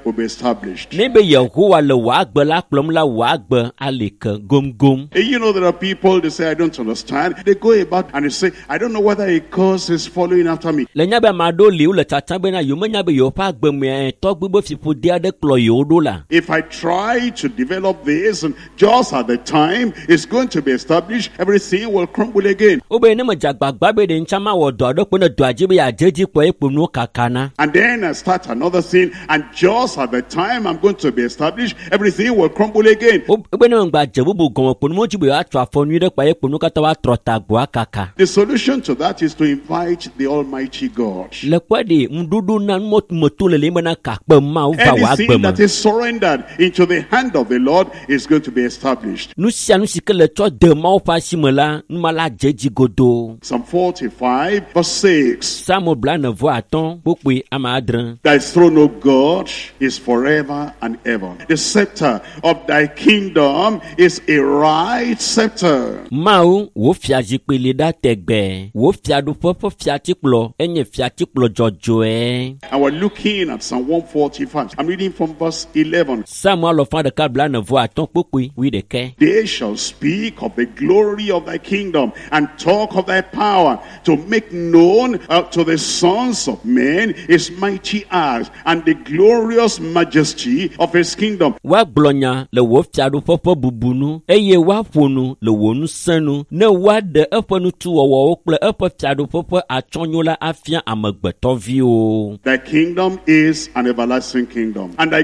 will be established. Ne be Yehowa le wò agbe la kplɔm la, wò agbe ali ke gomgom. You know, there are people, they say, I don't understand. They go about and they say, I don't know whether a curse is following after me. Le nya be ame aɖewo li wole tsatsam bena yewo menya be yewoƒe agbe mea tɔgbi be fiƒode aɖe kplɔ yewo ɖo la. If I try to develop this, and just at the time it's going to be established, everything will crumble again. Wobe ne medze agbagba be ɖe ŋutsa mawɔ dɔ aɖe kpe ne dɔa dzi be yeadze edzi kpɔ ye kpo nuwo kakana. And then I start another thing, and just at the time I'm going to be established, everything will crumble again. Wobe ne megba dze bubu gɔme kpo nuwo dzi be yewoatsɔ afɔ nyui ɖe kpa ye kpo nuwo katã woatrɔ ta gbɔa kaka. The solution to that is to invite the Almighty God. Le kpɔe ɖe ŋuɖoɖo na numɔtumeto le le bena kakpe Mawu va wò agbe Anything me. that is surrendered into the hand of the Lord is going to be established. Nu sia nu si ke le tsɔ de Mawu ƒe asi me la, numa la dze edzi godoo. Psalm 45, verse 6. Psalm blaene vɔ atɔ̃ kpokpoe ame adre. Thy throne, O God, is forever and ever. The scepter of thy kingdom is a right scepter. Mawu, wò fiazikpui li ɖa tegbe. Wò fiaɖuƒe ƒe fiatikplɔ enye fiatikplɔ dzɔdzɔe. And we're looking at Psalm 145. I'm reading from verse 11. Psalm alɔfa ɖeka blaene vɔ atɔ̃ kpokpoe wuiɖekɛ. They shall speak of the glory of thy kingdom and talk of thy power to make known to the sons of men his mighty acts and the glorious majesty of his kingdom. Woagblɔ nya le wò fiaɖuƒe ƒe bubu nu eye woaƒo nu le wò ŋusẽ nu ne woaɖe eƒe nutuwɔwɔwo kple eƒe fiaɖuƒe ƒe atsyɔ̃nyo la afia amegbetɔviwo. Thy kingdom is an everlasting kingdom, and thy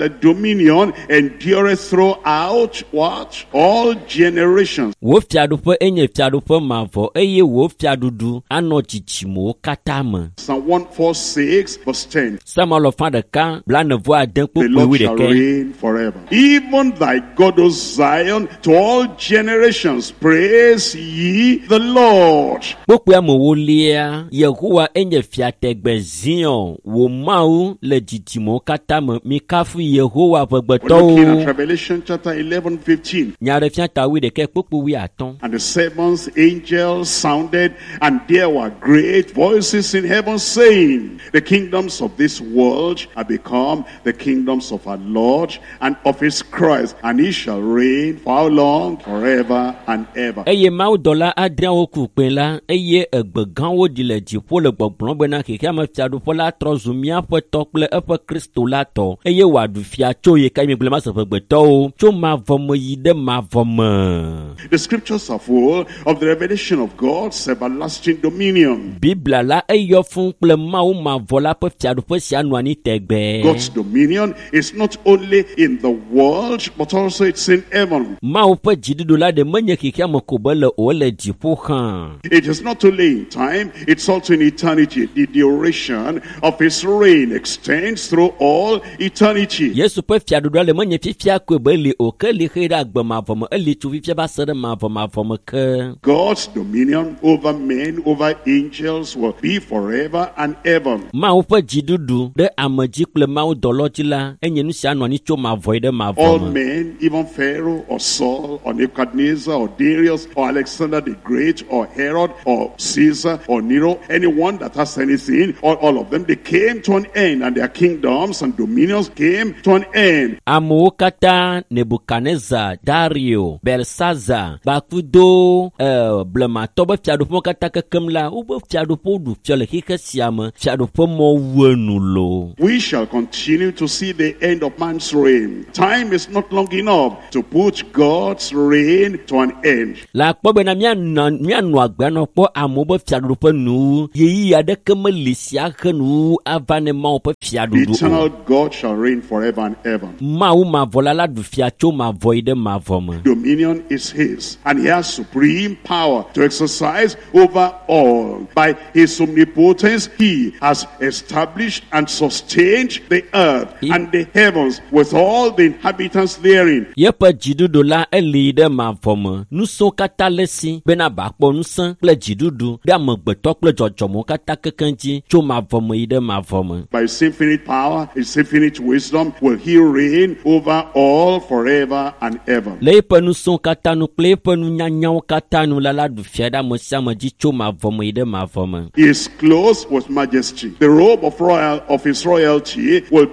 dominion endureth throughout what? All generations. Wò fiaɖuƒe enye fiaɖuƒe mavɔ eye wò fiaɖuɖu anɔ dzidzimewo katã me. Psalm 146, verse 10. Psalm alɔfa ɖeka blaene vɔ ade The kpokpoe Lord shall wuiɖekɛ. reign forever. Even thy God, O Zion, to all generations, praise ye the Lord. Kpokpoe amewolia, Yehowa enye fia tegbe Zion, wò Mawu le dzidzimewo katã me. Mikafu Yehowa We're looking at ƒegbetɔwo. Revelation chapter 11, 15. Nyaɖefia ta wuiɖekɛ kpokpoe wuiatɔ̃. And the seventh angel sounded, and there were great voices in heaven saying, The kingdoms of this world are become the kingdoms of our Lord and of his Christ, and he shall reign for how long? Forever and ever. Eye mawudɔla adreawo ku kpẽ la eye egbe gãwo ɖi le dziƒo le gbɔgblɔm bena xexeame fiaɖuƒe la trɔ zu míaƒe tɔ kple eƒe Kristo la tɔ eye wòaɖu fia tso yi ka mi gblẽ mase ƒegbetɔwo tso mavɔ me yi ɖe mavɔ me. The scriptures are full of the revelation of God's everlasting dominion. Biblia la eyɔ fũu kple Mawu mavɔ la ƒe fiaɖuƒe sia nɔ anyi tegbee. God's dominion is not only in the world, but also it's in heaven. Mawu ƒe dziɖuɖu la ɖe menye xexeame ko be le o, ele dziƒo hã. It is not only in time, it's also in eternity. The duration duration of his reign extends through all eternity. Yesu ƒe fiaɖuɖua le menye fifia koe be eli o ke eli xe ɖe agbe mavɔ me eli tso fifia va se ɖe mavɔ me ke. God's dominion over men, over angels will be forever and ever. Mawu ƒe dziɖuɖu ɖe ame dzi kple Mawu dɔlɔ dzi la enye nu sia anɔ anyi tso mavɔ yi ɖe mavɔ All me. men, even Pharaoh or Saul or Nebuchadnezzar or Darius or Alexander the Great or Herod or Caesar or Nero, anyone that has anything, all of them, they came to an end, and their kingdoms and dominions came to an end. Amewo katã Nebukadnezar, Dario, Belsazar kpakudo blematɔ be fiaɖuƒewo katã kekem la wobe fiaɖuƒewo ɖu fia le xixe sia me fiaɖuƒe mɔ wu enu loo. We shall continue to see the end of man's reign. Time is not long enough to put God's reign to an end. Le akpɔ bena míanɔ agbe anɔ kpɔ amewo be fiaɖuƒe nuwu ɣeyiɣi aɖeke meli sia he nuwu ava ne Mawu ƒe The fiaɖuɖu o. eternal God shall reign forever and ever. Mawu mavɔ la ɖu fia tso mavɔ yi ɖe mavɔ me. Dominion is his, and he has supreme power to exercise over all. By his omnipotence, he has established and sustained the earth and the heavens with all the inhabitants therein. Yeƒe dziɖuɖu la eli ɖe mavɔ me. Ŋusẽwo katã le esi bena bakpɔ ŋusẽ kple dziɖuɖu ɖe amegbetɔ kple dzɔdzɔmewo katã kekeŋ dzi tso mavɔ me yi ɖe mavɔ me. By his infinite power, his infinite wisdom, will he reign over all forever and ever. Le eƒe ŋusẽwo katã nu kple eƒe nunyanyawo katã nu la ɖu fia ɖe ame sia ame dzi tso mavɔ me yi ɖe mavɔ me. He is clothed with majesty. The robe of his royalty will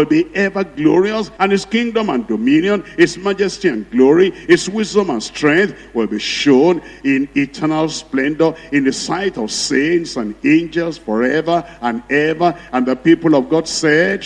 be ever glorious, and his kingdom and dominion, his majesty and glory, his wisdom and strength will be shown in eternal splendor in the sight of saints and angels forever and ever. And the people of God said,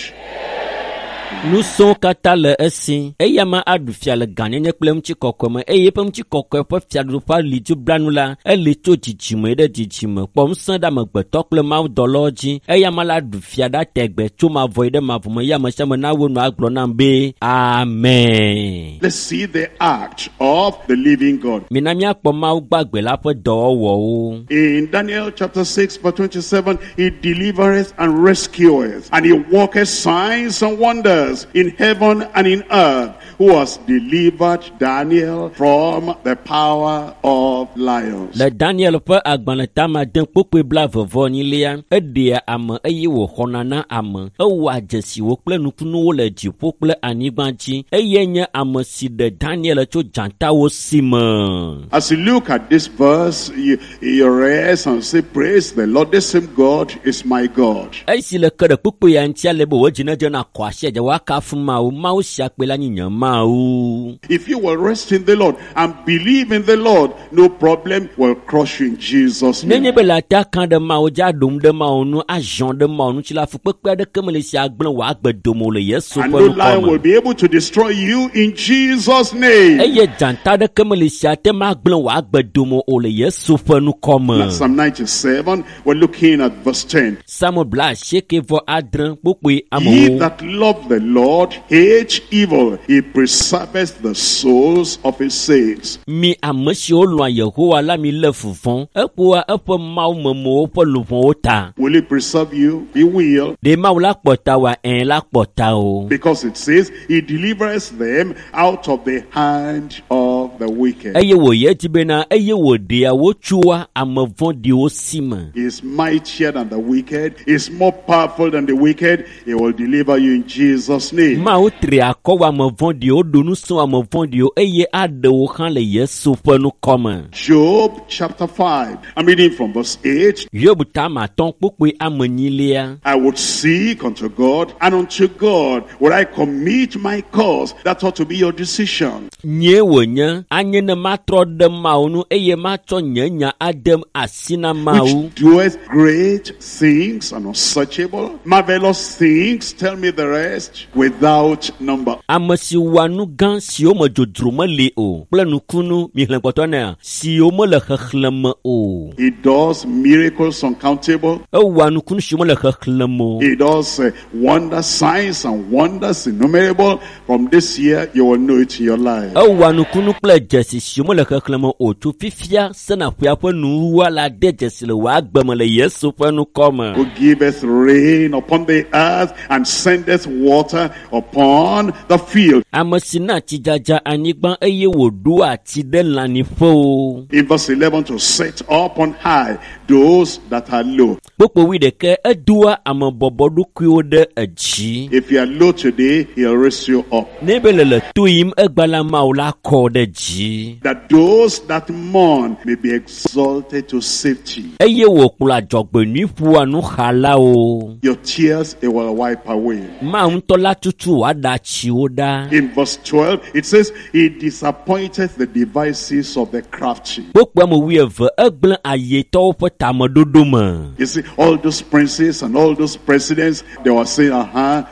Ŋusẽwo katã le esi eya ma aɖu fia le gãnyenye kple ŋutikɔkɔe me eye eƒe ŋutikɔkɔe ƒe fiaɖuƒe ali dziblanu la eli tso dzidzime ɖe dzidzime kpɔ ŋusẽ ɖe amegbetɔ kple mawudɔlawo dzi eya ma la ɖu fia ɖa tegbe tso mavɔ yi ɖe mavɔ me eye ame sia ame nawo nu agblɔ nam be amen. Let's see the act of the living God. Mina míakpɔ Mawu gbagbe la ƒe dɔwɔwɔwo. In Daniel chapter 6 verse 27, he delivereth and rescueth, and he worketh signs and wonders in heaven and in earth, who has delivered Daniel from the power of lions. Le Daniel ƒe agbalẽ tama de kpokpoe 22 eɖea ame eye wòxɔna na ame. Ewɔa dzesiwo kple nukunuwo le dziƒo kple anyigba dzi eye nye ame si ɖe Daniel tso dzatawo si me. As you look at this verse, you rest and say, praise the Lord, this same God is my God. Esi le ke ɖe kpokpoe ya ŋuti ale be wò dzi nedze na kɔ asi edze woakafu Mawu, Mawu sia kpe la nye nye Mawu. If you will rest in the Lord and believe in the Lord, no problem will crush you in Jesus' name. Nenye be le ata ka ɖe Mawu dzi aɖom ɖe Mawu nu, azɔ ɖe Mawu ŋuti la, fukpekpe aɖeke mele si agblẽ wò agbe dome o le Yesu And ƒe no ŋkɔ lion me. will be able to destroy you in Jesus' name. Eye dzata aɖeke mele si ate ŋu agblẽ wò agbe dome o le Yesu ƒe ŋkɔ me. Now, Psalm 97, we're looking at verse 10. Psalm 96 kpokpoe Ye amewo. that love the Lord hate evil. He preserveth the souls of his saints. Mi ame siwo lɔ̃a Yehowa la mi lé fu vɔ̃. Eƒoa eƒe mawumemewo ƒe luʋɔwo ta. Will he preserve you? He will. Ɖe Mawu la kpɔ ta wòa? Ɛ̃ la kpɔ ta o. Because it says he delivers them out of the hand of the wicked. Eye wòyi edzi bena eye wòɖea wo tsoa ame vɔ̃ɖiwo si me. He is mightier than the wicked. He is more powerful than the wicked. He will deliver you in Jesus' name. Mawu tri akɔ wɔ ame vɔ̃ɖiwo, ɖo ŋusẽ wɔ ame vɔ̃ɖiwo eye aɖe wo hã le Yesu ƒe ŋkɔ me. Job chapter 5. I'm reading from verse 8. Hiob tama atɔ̃ kpokpoe ame enyilia. I would seek unto God, and unto God would I commit my cause. That ought to be your decision. Nyee wònye anye ne matrɔ ɖe Mawu ŋu eye matsɔ nye nya ade asi na Mawu. Which doeth great things and unsearchable, marvelous things, tell me the rest, without number. Ame si wɔa nu gã siwo me dzodzro meli o kple nukunu mihlẽ kpɔtɔ nea siwo mele xexlẽme o. He does miracles uncountable. Ewɔa nukunu siwo mele xexlẽme o. He does wonder signs and wonders innumerable. From this year, you will know it in your life. Ewɔa nukunu kple dzesi siwo mele xexlẽme o tso fifia sena ƒea ƒe nuwuwua la de dzesi le wò agbe me le Yesu ƒe ŋkɔ me. Who giveth rain upon the earth and sendeth water upon the field. Ame si na tsidzadza anyigba eye wòɖoa tsi ɖe lãnyiƒewo. In verse 11, to set up on high those that are low. Kpukpui wuiɖekɛ edoa ame bɔbɔɖokuiwo ɖe edzi. If you are low today, he'll raise you up. Ne be le le to yim egba la Mawu la kɔ ɖe dzi. That those that mourn may be exalted to safety. Eye wòkplɔ adzɔgbenyui ƒoa nuxalawo. Your tears he will wipe away. Mawu ŋutɔ la tutu wòaɖe atsiwo ɖa. In verse 12, it says, He disappointed the devices of the crafty. Kpukpui ame wuieve egblẽ ayetɔwo ƒe tameɖoɖo me. You see, all those princes and all those presidents, they were saying,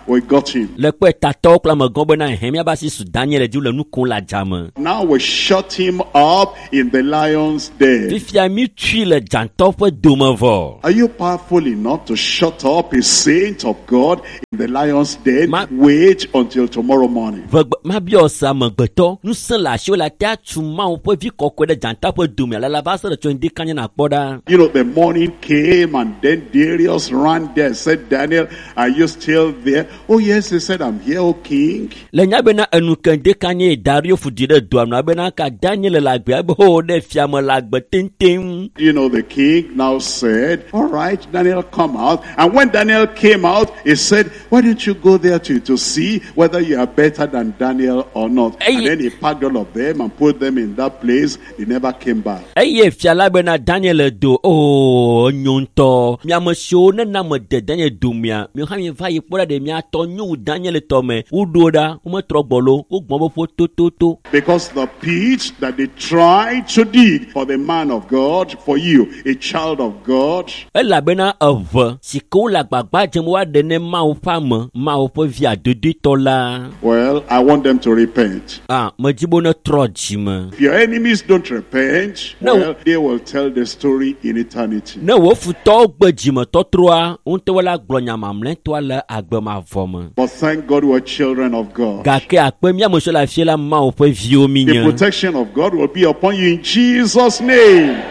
we got him. Le kpe tatɔwo kple amegãwo bena hẽ míava asi su Daniel dzi le nu kom le adzame. Now we shut him up in the lion's den. Fifia mi tui le dzãtɔ ƒe dome vɔ. Are you powerful enough to shut up a saint of God in the lion's den? Wait until tomorrow morning. Vegbe mabiɔ se amegbetɔ ŋusẽ le asiwò le ate atu Mawu ƒe vi kɔkɔe ɖe dzata ƒe dome alala va se ɖe tso ŋdi kanya nakpɔ ɖa. You know, the morning came and then Darius ran there and said, Daniel, are you still there? Oh yes, he said, I'm here, O king. Le nya bena enu ke ŋdi kanya Dario fu di ɖe doa nu abena ka Daniel le agbe abe ho ɖe fiame le agbe teŋteŋ. You know, the king now said, all right, Daniel, come out. And when Daniel came out, he said, why don't you go there to see whether you are better than Daniel or not? Hey. And then he packed all of them and put them in that place. They never came back. Eye fia la bena Daniel do o nyo ŋutɔ. Miame siwo nena me de Daniel domea, mi hã mi va yi kpɔ ɖa ɖe miatɔ nyo wu Daniel tɔ me. Woɖo ɖa, wometrɔ gbɔ lo, wogbɔn be ƒo tototo. Because the pit that they tried to dig for the man of God, for you, a child of God, Elabena eve si ke wole agbagba dzem woaɖe ne Mawu ƒe ame, Mawu ƒe vi adodoetɔ la. well, I want them to repent. Medzi be wonetrɔ dzime. If your enemies don't repent, No. well, they will tell the story in eternity. Ne wò futɔwo gbe dzimetɔtrɔa, ŋutɔwo la gblɔ nya mamlɛtɔa le agbe mavɔ me. But thank God we're children of God. Gake akpe mía ame siwo le afia la Mawu ƒe viwo mi The nye. protection of God will be upon you in Jesus' name.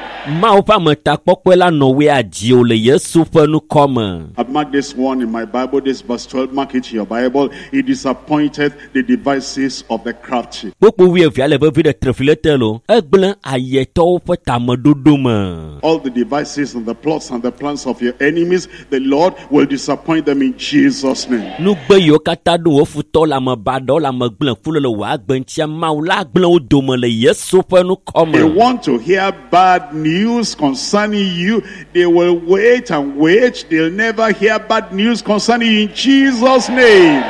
Mawu ƒe ametakpɔkpɔe la nɔ woe adziwò le Yesu ƒe ŋkɔ me. I've marked this one in my Bible, this verse 12, mark it in your Bible. He disappointed the devices of the crafty. Kpukpui wuievia le vevi ɖe trefi le te lo. Egblẽ ayetɔwo ƒe tameɖoɖo me. All the devices and the plots and the plans of your enemies, the Lord will disappoint them in Jesus' name. Nugbe yiwo katã ɖo wò futɔ le ame baɖawo le ame gblẽ ku le le wò agbe ŋutia, Mawu la gblẽ wo dome le Yesu ƒe ŋkɔ They me. want to hear bad news concerning you. They will wait and wait. They'll never hear bad news concerning you in Jesus' name.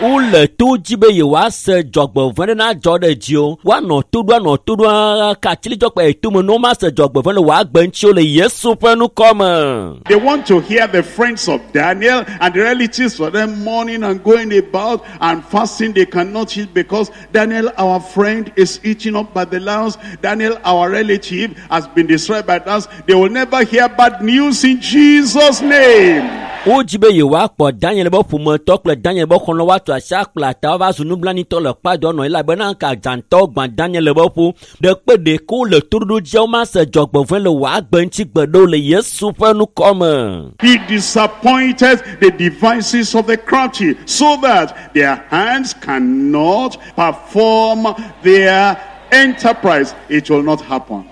Wole to dzi be yewoase dzɔgbevɔ̃e ɖe nadzɔ ɖe dziwò. Woanɔ to ɖo, anɔ to ɖo, ka atsilidzɔkpe yi tome ne womase dzɔgbevɔ̃e le wò agbe ŋuti o le Yesu ƒe ŋkɔ me. They want to hear the friends of Daniel and the relatives for them mourning and going about and fasting. They cannot eat because Daniel, our friend, is eaten up by the lions. Daniel, our relative, has been destroyed by lions. They will never hear bad news in Jesus' name. Wodzi be yewoakpɔ Daniel be ƒometɔ kple Daniel be xɔlɔ̃ woatu asi akpla ta woava zu nublanuitɔ le kpadɔ nɔ elabena ka dzãtɔwo gbã Daniel be ƒo. Ɖe kpe ɖeke wole toɖoɖo dzia womase dzɔgbevɔ̃e le wò agbe ŋuti gbe ɖe o le Yesu ƒe ŋkɔ me. He disappointed the devices of the crafty so that their hands cannot perform their enterprise. It will not happen.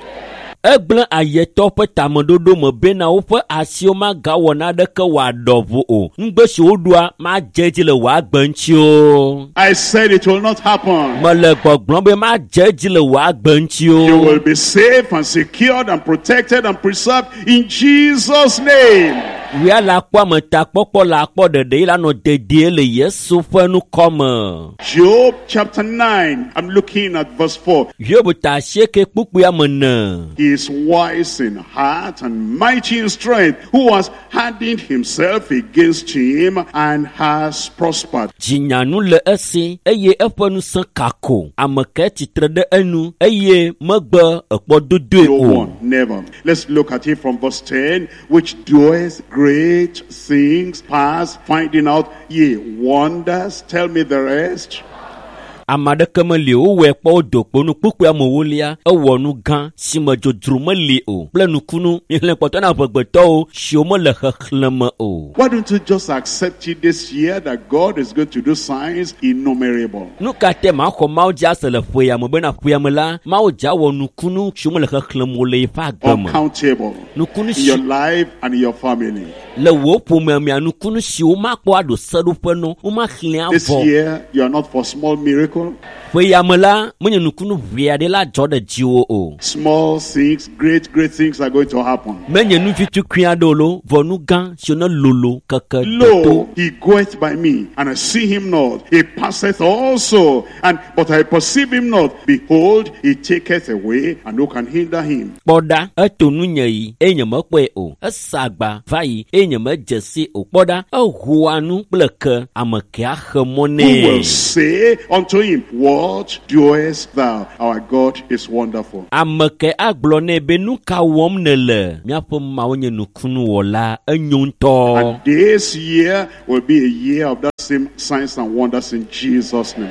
Egblẽ ayetɔ ƒe tameɖoɖo me bena woƒe asiwo magawɔ naneke wòaɖɔ ʋu o. Nugbe si woɖoa madze edzi le wò agbe ŋuti o. I said it will not happen. Mele gbɔgblɔm be madze edzi le wò agbe ŋuti You o. will be safe and secured and protected and preserved in Jesus' name. Wia la kpɔ ametakpɔkpɔ la akpɔ ɖeɖe yi la nɔ dedie le Yesu ƒe ŋkɔ me. Job chapter 9, I'm looking at verse 4. Hiob ta asieke kpukpui ame ene. He is wise in heart and mighty in strength, who has hardened himself against him and has prospered? Dzinyanu le esi eye eƒe ŋusẽ kako. Ame kae tsitre ɖe enu eye megbe ekpɔ dodoe No o? one, never. Let's look at it from verse 10, which doeth great things past finding out, ye wonders, tell me the rest. Ame aɖeke meli o, wowɔe kpɔ wodo kpo nu kpukpui amewolia ewɔ nu gã si me dzodzro meli o kple nukunu mixlẽ kpɔtɔ na amegbetɔwo siwo mele xexlẽme o. Why don't you just accept it this year that God is going to do signs innumerable? Nu ka te maxɔ Mawu dzi ase le ƒe ya me bena ƒe ya me la Mawu dzi awɔ nukunu siwo mele xexlẽme o le yeƒe agbe me. Uncountable Nukunu in si your life and in your family. le wò ƒomea mea nukunu siwo makpɔ aɖo seɖoƒe no womaxlẽ This avɔ. year, you are not for small miracle. Ƒe ya me la menye nukunu ʋee aɖe la dzɔ ɖe dziwò o. Small things, great, great things are going to happen. Menye nu vi tukui aɖewo lo vɔ nu gã siwo ne lolo keke toto. Lo, he goeth by me, and I see him not. He passeth also, and but I perceive him not. Behold, he taketh away, and who can hinder him? Kpɔ ɖa, eto nunye yi eye nyemekpɔe o. Esa agba va yi eye nyemedze si o. Kpɔ ɖa, ehoa nu kple ke, ame ke axe mɔ Who nɛ. will say unto him, What doest thou? Our God is wonderful. Ame ke agblɔ nɛ be nu ka wɔm nèle? Míaƒe Mawu nye nukunuwɔla, enyo ŋutɔ. And this year will be a year of that same signs and wonders in Jesus' name.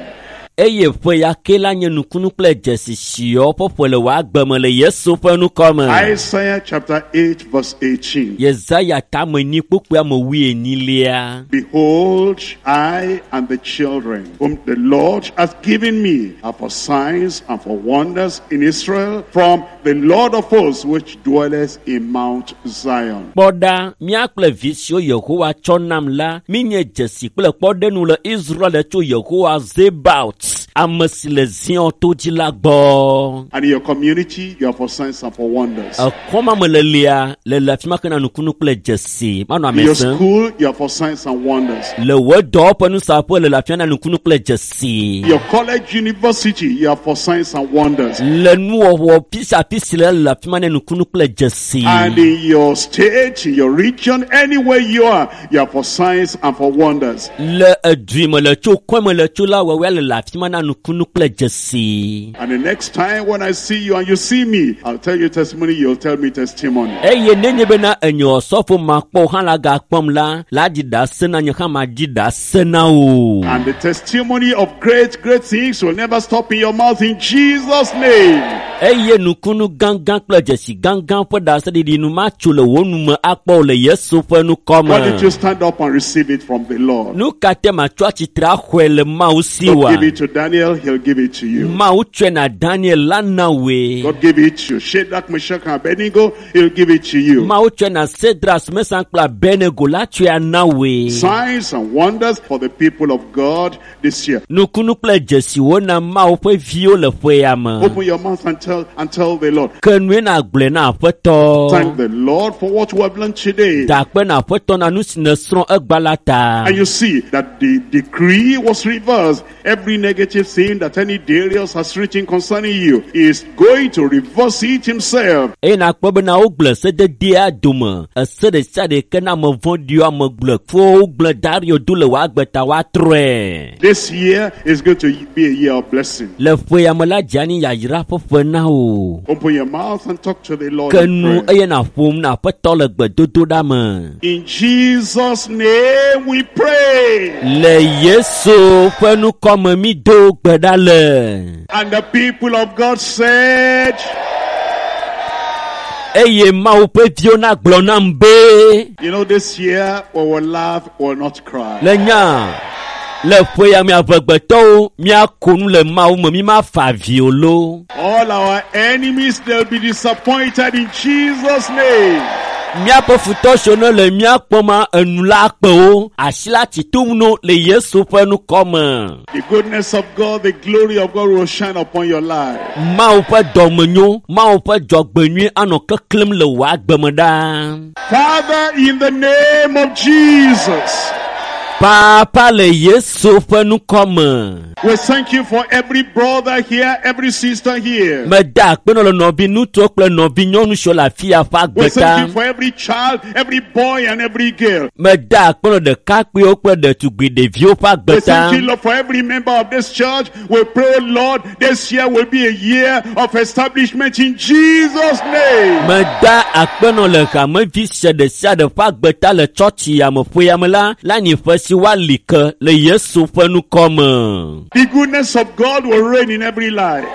Eye ƒe ya ke la nye nukunu kple dzesi siwo ƒe ƒe le wò agbe me le Yesu ƒe ŋkɔ me. Isaiah chapter 8, verse 18. Yesaya tame nyi kpukpui ame wuienyilia. Behold, I and the children whom the Lord hath given me are for signs and for wonders in Israel from the Lord of hosts which dwelleth in Mount Zion. Kpɔ ɖa, mía kple vi siwo Yehowa tsɔ nam la, míenye dzesi kple kpɔɖenu le Israel tso Yehowa Zebaot, ame si le Zion to dzi la gbɔ. And in your community, you are for signs and for wonders. Ekɔma me lelia le le afi ma ke na nukunu kple dzesi manɔ In ame your sẽm. school, you are for signs and wonders. Le wò dɔwɔƒe nusaƒe le le afi ma na nukunu kple dzesi. In your college, university, you are for signs and wonders. Le nuwɔwɔ pisiapisi le le afi ma na nukunu kple dzesi. And in your state, in your region, anywhere you are for signs and for wonders. Le edui me le tso kɔe me le tso la wɔwɔa le le afi ma na nukunu kple dzesi. And the next time when I see you and you see me, I'll tell you testimony, you'll tell me testimony. Eye nenye bena enye osɔfo makpɔ hã la gakpɔm la, la dzi ɖase na nye hã madzi ɖase na wò. And the testimony of great, great things will never stop in your mouth in Jesus' name. Eye nukunu gãgã kple dzesi gãgã ƒe ɖaseɖiɖi nu matso le wò nu me akpɔ o le Yesu ƒe ŋkɔ Why don't me. you stand up and receive it from the Lord? Nu ka te matsɔ atsitre axɔe le Mawu si God wa? give it to Daniel, he'll give it to you. Mawu tsɔe na Daniel la na wòe. God give it to Shadrach, Meshach, and Abednego, he'll give it to you. Mawu tsɔe na Sedras, Mesan kple Abednego la tsɔe ana wòe. Signs and wonders for the people of God this year. Nukunu kple dzesiwo na Mawu ƒe viwo le ƒe ya me. Open your mouth and tell the Lord. Ke nue na gblɔe na Aƒetɔ. Thank the Lord for what we have learned today. Da akpe na Aƒetɔ na nu si nèsrɔ̃ egba la ta. And you see that the decree was reversed. Every negative thing that any Darius has written concerning you is going to reverse it himself. Eye nakpɔ bena wogblẽ sededea dome. Ese ɖe sia ɖe ke na ame vɔ̃ɖiwo, ame gblẽkuwo wogblẽ Dario do le wò agbe ta woatrɔe. This year is going to be a year of blessing. Le ƒe ya me la dze anyi yayra ƒe ƒe na wò. Open your mouth and talk to the Lord. Ke in nu prayer. eye nàƒom na Aƒetɔ le gbedodoɖa me. In Jesus' name we pray. Le Yesu ƒe ŋkɔ me mi do gbe ɖa le. And the people of God said, Eye Mawu ƒe viwo nagblɔ nam be. You know, this year we will laugh, we will not cry. Le nya le ƒe ya me amegbetɔwo míako nu le Mawu me mi mafa avi o lo. All our enemies, they'll be disappointed in Jesus' name. Míaƒe futɔ siwo ne le mía kpɔm enu la kpe wo asi la tsi tom no le Yesu ƒe ŋkɔ me. The goodness of God, the glory of God will shine upon your life. Mawu ƒe dɔmenyo, Mawu ƒe dzɔgbenyui anɔ keklẽm le wò agbe me ɖaa. Father, in the name of Jesus, Papa le Yesu ƒe ŋkɔ me. We thank you for every brother here, every sister here. Meda akpe nɔ le nɔvi ŋutsuwo kple nɔvi nyɔnu siwo le afi ya ƒe We agbe thank ta. you for every child, every boy, and every girl. Meda akpe nɔ ɖekakpuiwo kple ɖetugbui ɖeviwo ƒe agbe We ta. thank you, Lord, for every member of this church. We pray, Lord, this year will be a year of establishment in Jesus' name. Meda akpe nɔ le hamevi sia ɖe sia ɖe ƒe agbe ta le tsɔtsi ya me ƒe ya me la, le anyi ƒe si woali ke le Yesu ƒe ŋkɔ me. The goodness of God will reign in every life.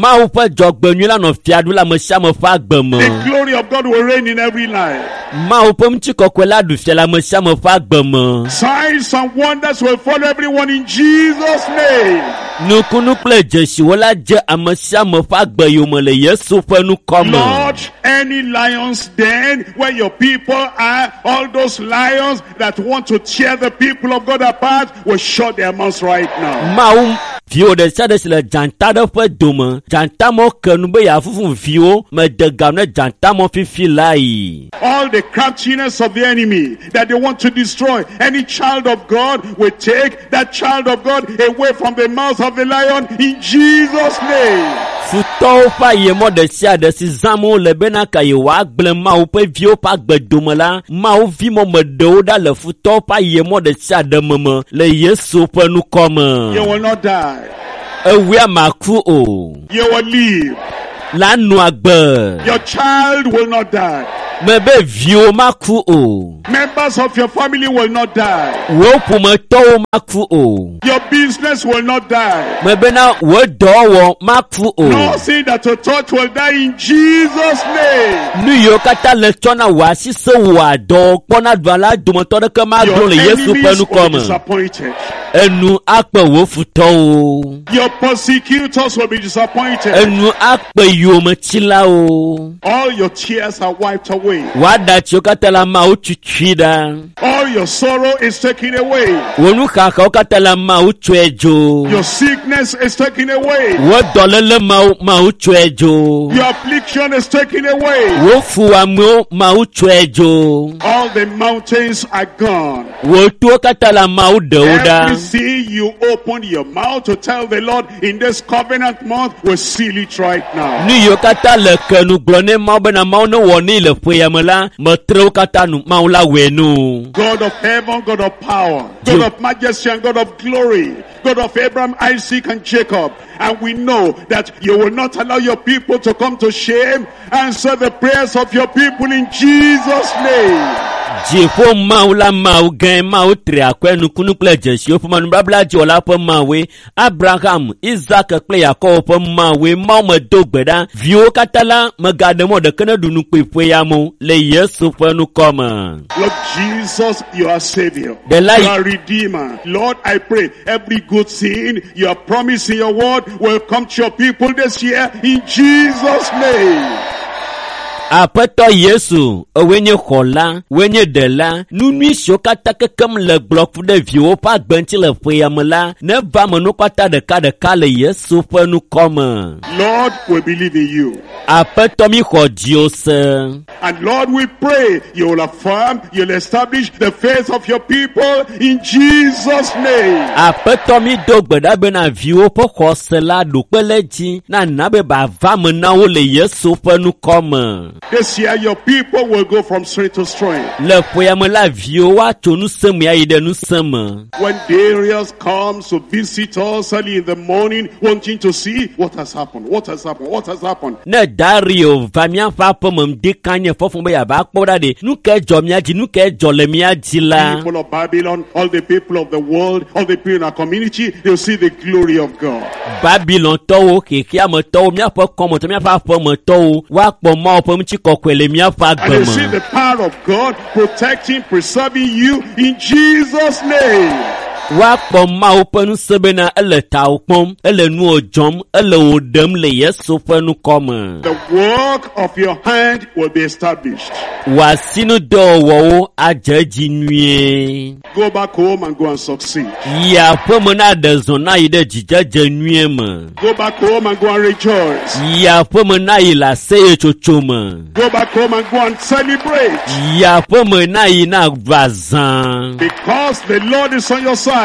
Mawu ƒe dzɔgbenyui la nɔ fiaɖu le ame sia ame ƒe agbe me. The glory of God will reign in every life. Mawu ƒe ŋutikɔkɔe la ɖu fia le ame sia ame ƒe agbe me. Signs and wonders will follow everyone in Jesus' name. Nukunu kple dzesiwo la dze ame sia ame ƒe agbe yome le Yesu ƒe ŋkɔ me. Lord, any lions den where your people are, all those lions that want to tear the people of God apart will shut their mouths right now. Mawu viwo ɖe sia ɖe si le dzata ɖe ƒe dome, dzatamɔ ke nu be yeafufu viwo mede ga ne dzatamɔ fifi lae. All the craftiness of the enemy that they want to destroy any child of God will take that child of God away from the mouth of the lion in Jesus' name. Futɔwo ƒe ayemɔ ɖe sia ɖe si zãm wole bena ka yewoagblẽ Mawu ƒe viwo ƒe agbe dome la, Mawu vimɔ me ɖewo ɖa le futɔwo ƒe ayemɔ ɖe sia ɖe me me le Yesu ƒe ŋkɔ You me. will not die. Ewia maku o, You will live. la nɔ agbe. Your child will not die. Mebe viwo maku o, Members of your family will not die. wò ƒometɔwo maku o. Your business will not die. Mebena wò dɔwɔwɔ maku o. Nothing that you touch will die in Jesus' name. Nu yiwo katã le tsɔ na wò asi se wò adɔ kpɔna ɖua la dometɔ ɖeke magblɔ Your le Yesu ƒe enemies ŋkɔ will be me. disappointed. Enu akpe wò futɔwo. Your persecutors will be disappointed. Enu akpe yometsilawo. All your tears are wiped away. Wò aɖatsiwo katã le ameawo tutui ɖa. All your sorrow is taken away. Wò nuxaxawo katã le ameawo tsɔe dzo. Your sickness is taken away. Wò dɔléle mawo mawo tsɔe dzo. Your affliction is taken away. Wò fuwɔamewo mawo tsɔe dzo. All the mountains are gone. Wò towo katã le ameawo ɖewo ɖa. Everything you open your mouth to tell the Lord in this covenant month, will seal it right now. Nu yiwo katã le ke nu gblɔ ne Mawu bena Mawu ne wɔ nɛ le ƒe ya me la, metre wo katã nu Mawu la wɔe nu. God of heaven, God of power, God of majesty and God of glory, God of Abraham, Isaac and Jacob. And we know that you will not allow your people to come to shame. Answer the prayers of your people in Jesus' name. Dziƒo Mawu la Mawu gãe Mawu tri akɔe nukunu kple dzesiwo ƒe nubabla dziwɔla ƒe Mawue, Abraham, Isak kple Yakobo ƒe Mawue, Mawu medo gbe ɖa. Viwo katã la megaɖe mɔ ɖeke ne ɖu nu kpui ƒe ya me o le Yesu ƒe ŋkɔ me. Lord Jesus, you are Savior. The light- You are Redeemer. Lord, I pray every good thing you have promised in your word will come to your people this year in Jesus' name. Aƒetɔ Yesu, ewoe nye xɔla, woe nye ɖela, nu nyui siwo katã kekem le gblɔ ku ɖe viwo ƒe agbe ŋuti le ƒe ya me la, neva me nu katã ɖekaɖeka le Yesu ƒe ŋkɔ me. Lord, we believe in you. Aƒetɔ mi xɔ dziwò se. And Lord, we pray you will affirm, you'll establish the faith of your people in Jesus' name. Aƒetɔ mi do gbe ɖa bena viwo ƒe xɔse la ɖo kpe le dzi na na be bava me na wo le Yesu ƒe ŋkɔ me. This year, your people will go from strength to strength. Le ƒe ya me la viwo woatso ŋusẽ me ayi ɖe ŋusẽ me. When Darius comes to visit us early in the morning, wanting to see what has happened, what has happened, what has happened. Ne Dario va míaƒe aƒeme ŋdi kanye fɔfɔ be yeava kpɔ ɖa ɖe nu ke dzɔ mía dzi nu ke dzɔ le mía dzi la. People of Babylon, all the people of the world, all the people in our community, they'll see the glory of God. Babilontɔwo, xexeametɔwo, míaƒe kɔmetɔ, míaƒe aƒemetɔwo woakpɔ Mawu ƒe ŋutikɔkɔe le míaƒe And agbe they'll see me. the power of God protecting, preserving you in Jesus' name. Woakpɔ Mawu ƒe ŋusẽ bena ele tawò kpɔm, ele nuwò dzɔm, ele wò ɖem le Yesu ƒe ŋkɔ me. The work of your hand will be established. Wò asinudɔwɔwɔwo adze edzi nyuie. Go back home and go and succeed. Yi aƒeme na ɖe zɔ na yi ɖe dzidzedze nyuie me. Go back home and go and rejoice. Yi aƒeme na yi le aseyetsotso me. Go back home and go and celebrate. Yi aƒeme na yi na va zã. Because the Lord is on your side.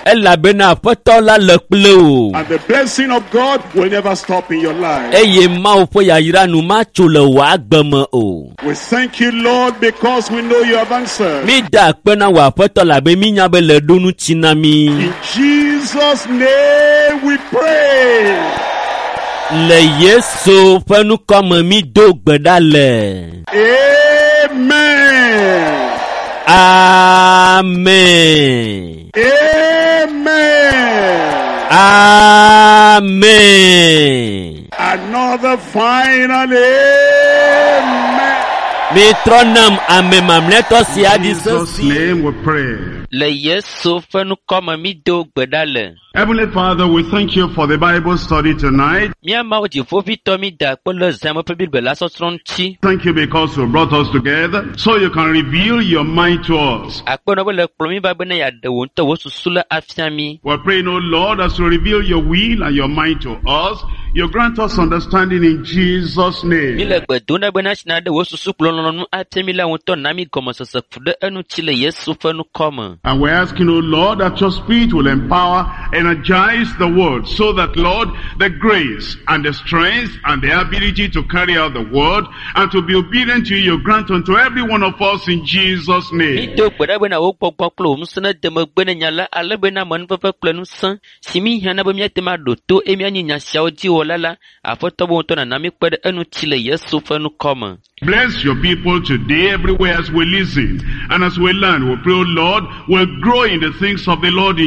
Elabena Aƒetɔ la le kple wò. And the blessing of God will never stop in your life. Eye Mawu ƒe yayra nu matso le wò agbe me o. We thank you, Lord, because we know you have answered. Mi da akpe na wò Aƒetɔ labe mínya be le ɖo ŋuti na mí. In Jesus' name we pray. Le Yesu ƒe ŋkɔ me mi do gbe ɖa le. Amen. Amen. Amen. Amen. Another final amen. Mi trɔ nam ame mamlɛtɔ sia ɖi Jesus' sesi. name we pray. Le Yesu ƒe ŋkɔ me mi do gbe ɖa le. Heavenly Father, we thank you for the Bible study tonight. Mía Mawu dziƒoʋĩtɔ mi da akpe le zãme ƒe Biblia la sɔsrɔ̃ ŋuti. Thank you because you brought us together so you can reveal your mind to us. Akpe nɔ be le kplɔ mi va bena yeaɖe wò ŋutɔ wò susu la afia mi. We're praying, O Lord, as you reveal your will and your mind to us, you grant us understanding in Jesus' Mi name. le gbe dom ɖa bena tsi na ɖe wò susu kple lɔlɔ̃nu afia mi la ŋutɔ na mi gɔmesese ku ɖe eŋuti le Yesu ƒe ŋkɔ me. And we're asking, O Lord, that your Spirit will empower, energize the word so that, Lord, the grace and the strength and the ability to carry out the word and to be obedient to you, you grant unto every one of us in Jesus' Mi name. do gbe ɖa bena wò gbɔgbɔ kple wò ŋusẽ nede megbe ne nya la ale bena amenuveve kple ŋusẽ si mi hiã na be míate ŋu aɖo to eye míanyi nya siawo dzi wɔla la, Aƒetɔ be ŋutɔ nana mi kpe ɖe eŋuti le Yesu ƒe ŋkɔ me. Bless your people today everywhere as we listen and as we learn. We pray, O Lord, we'll grow in the things of the Lord in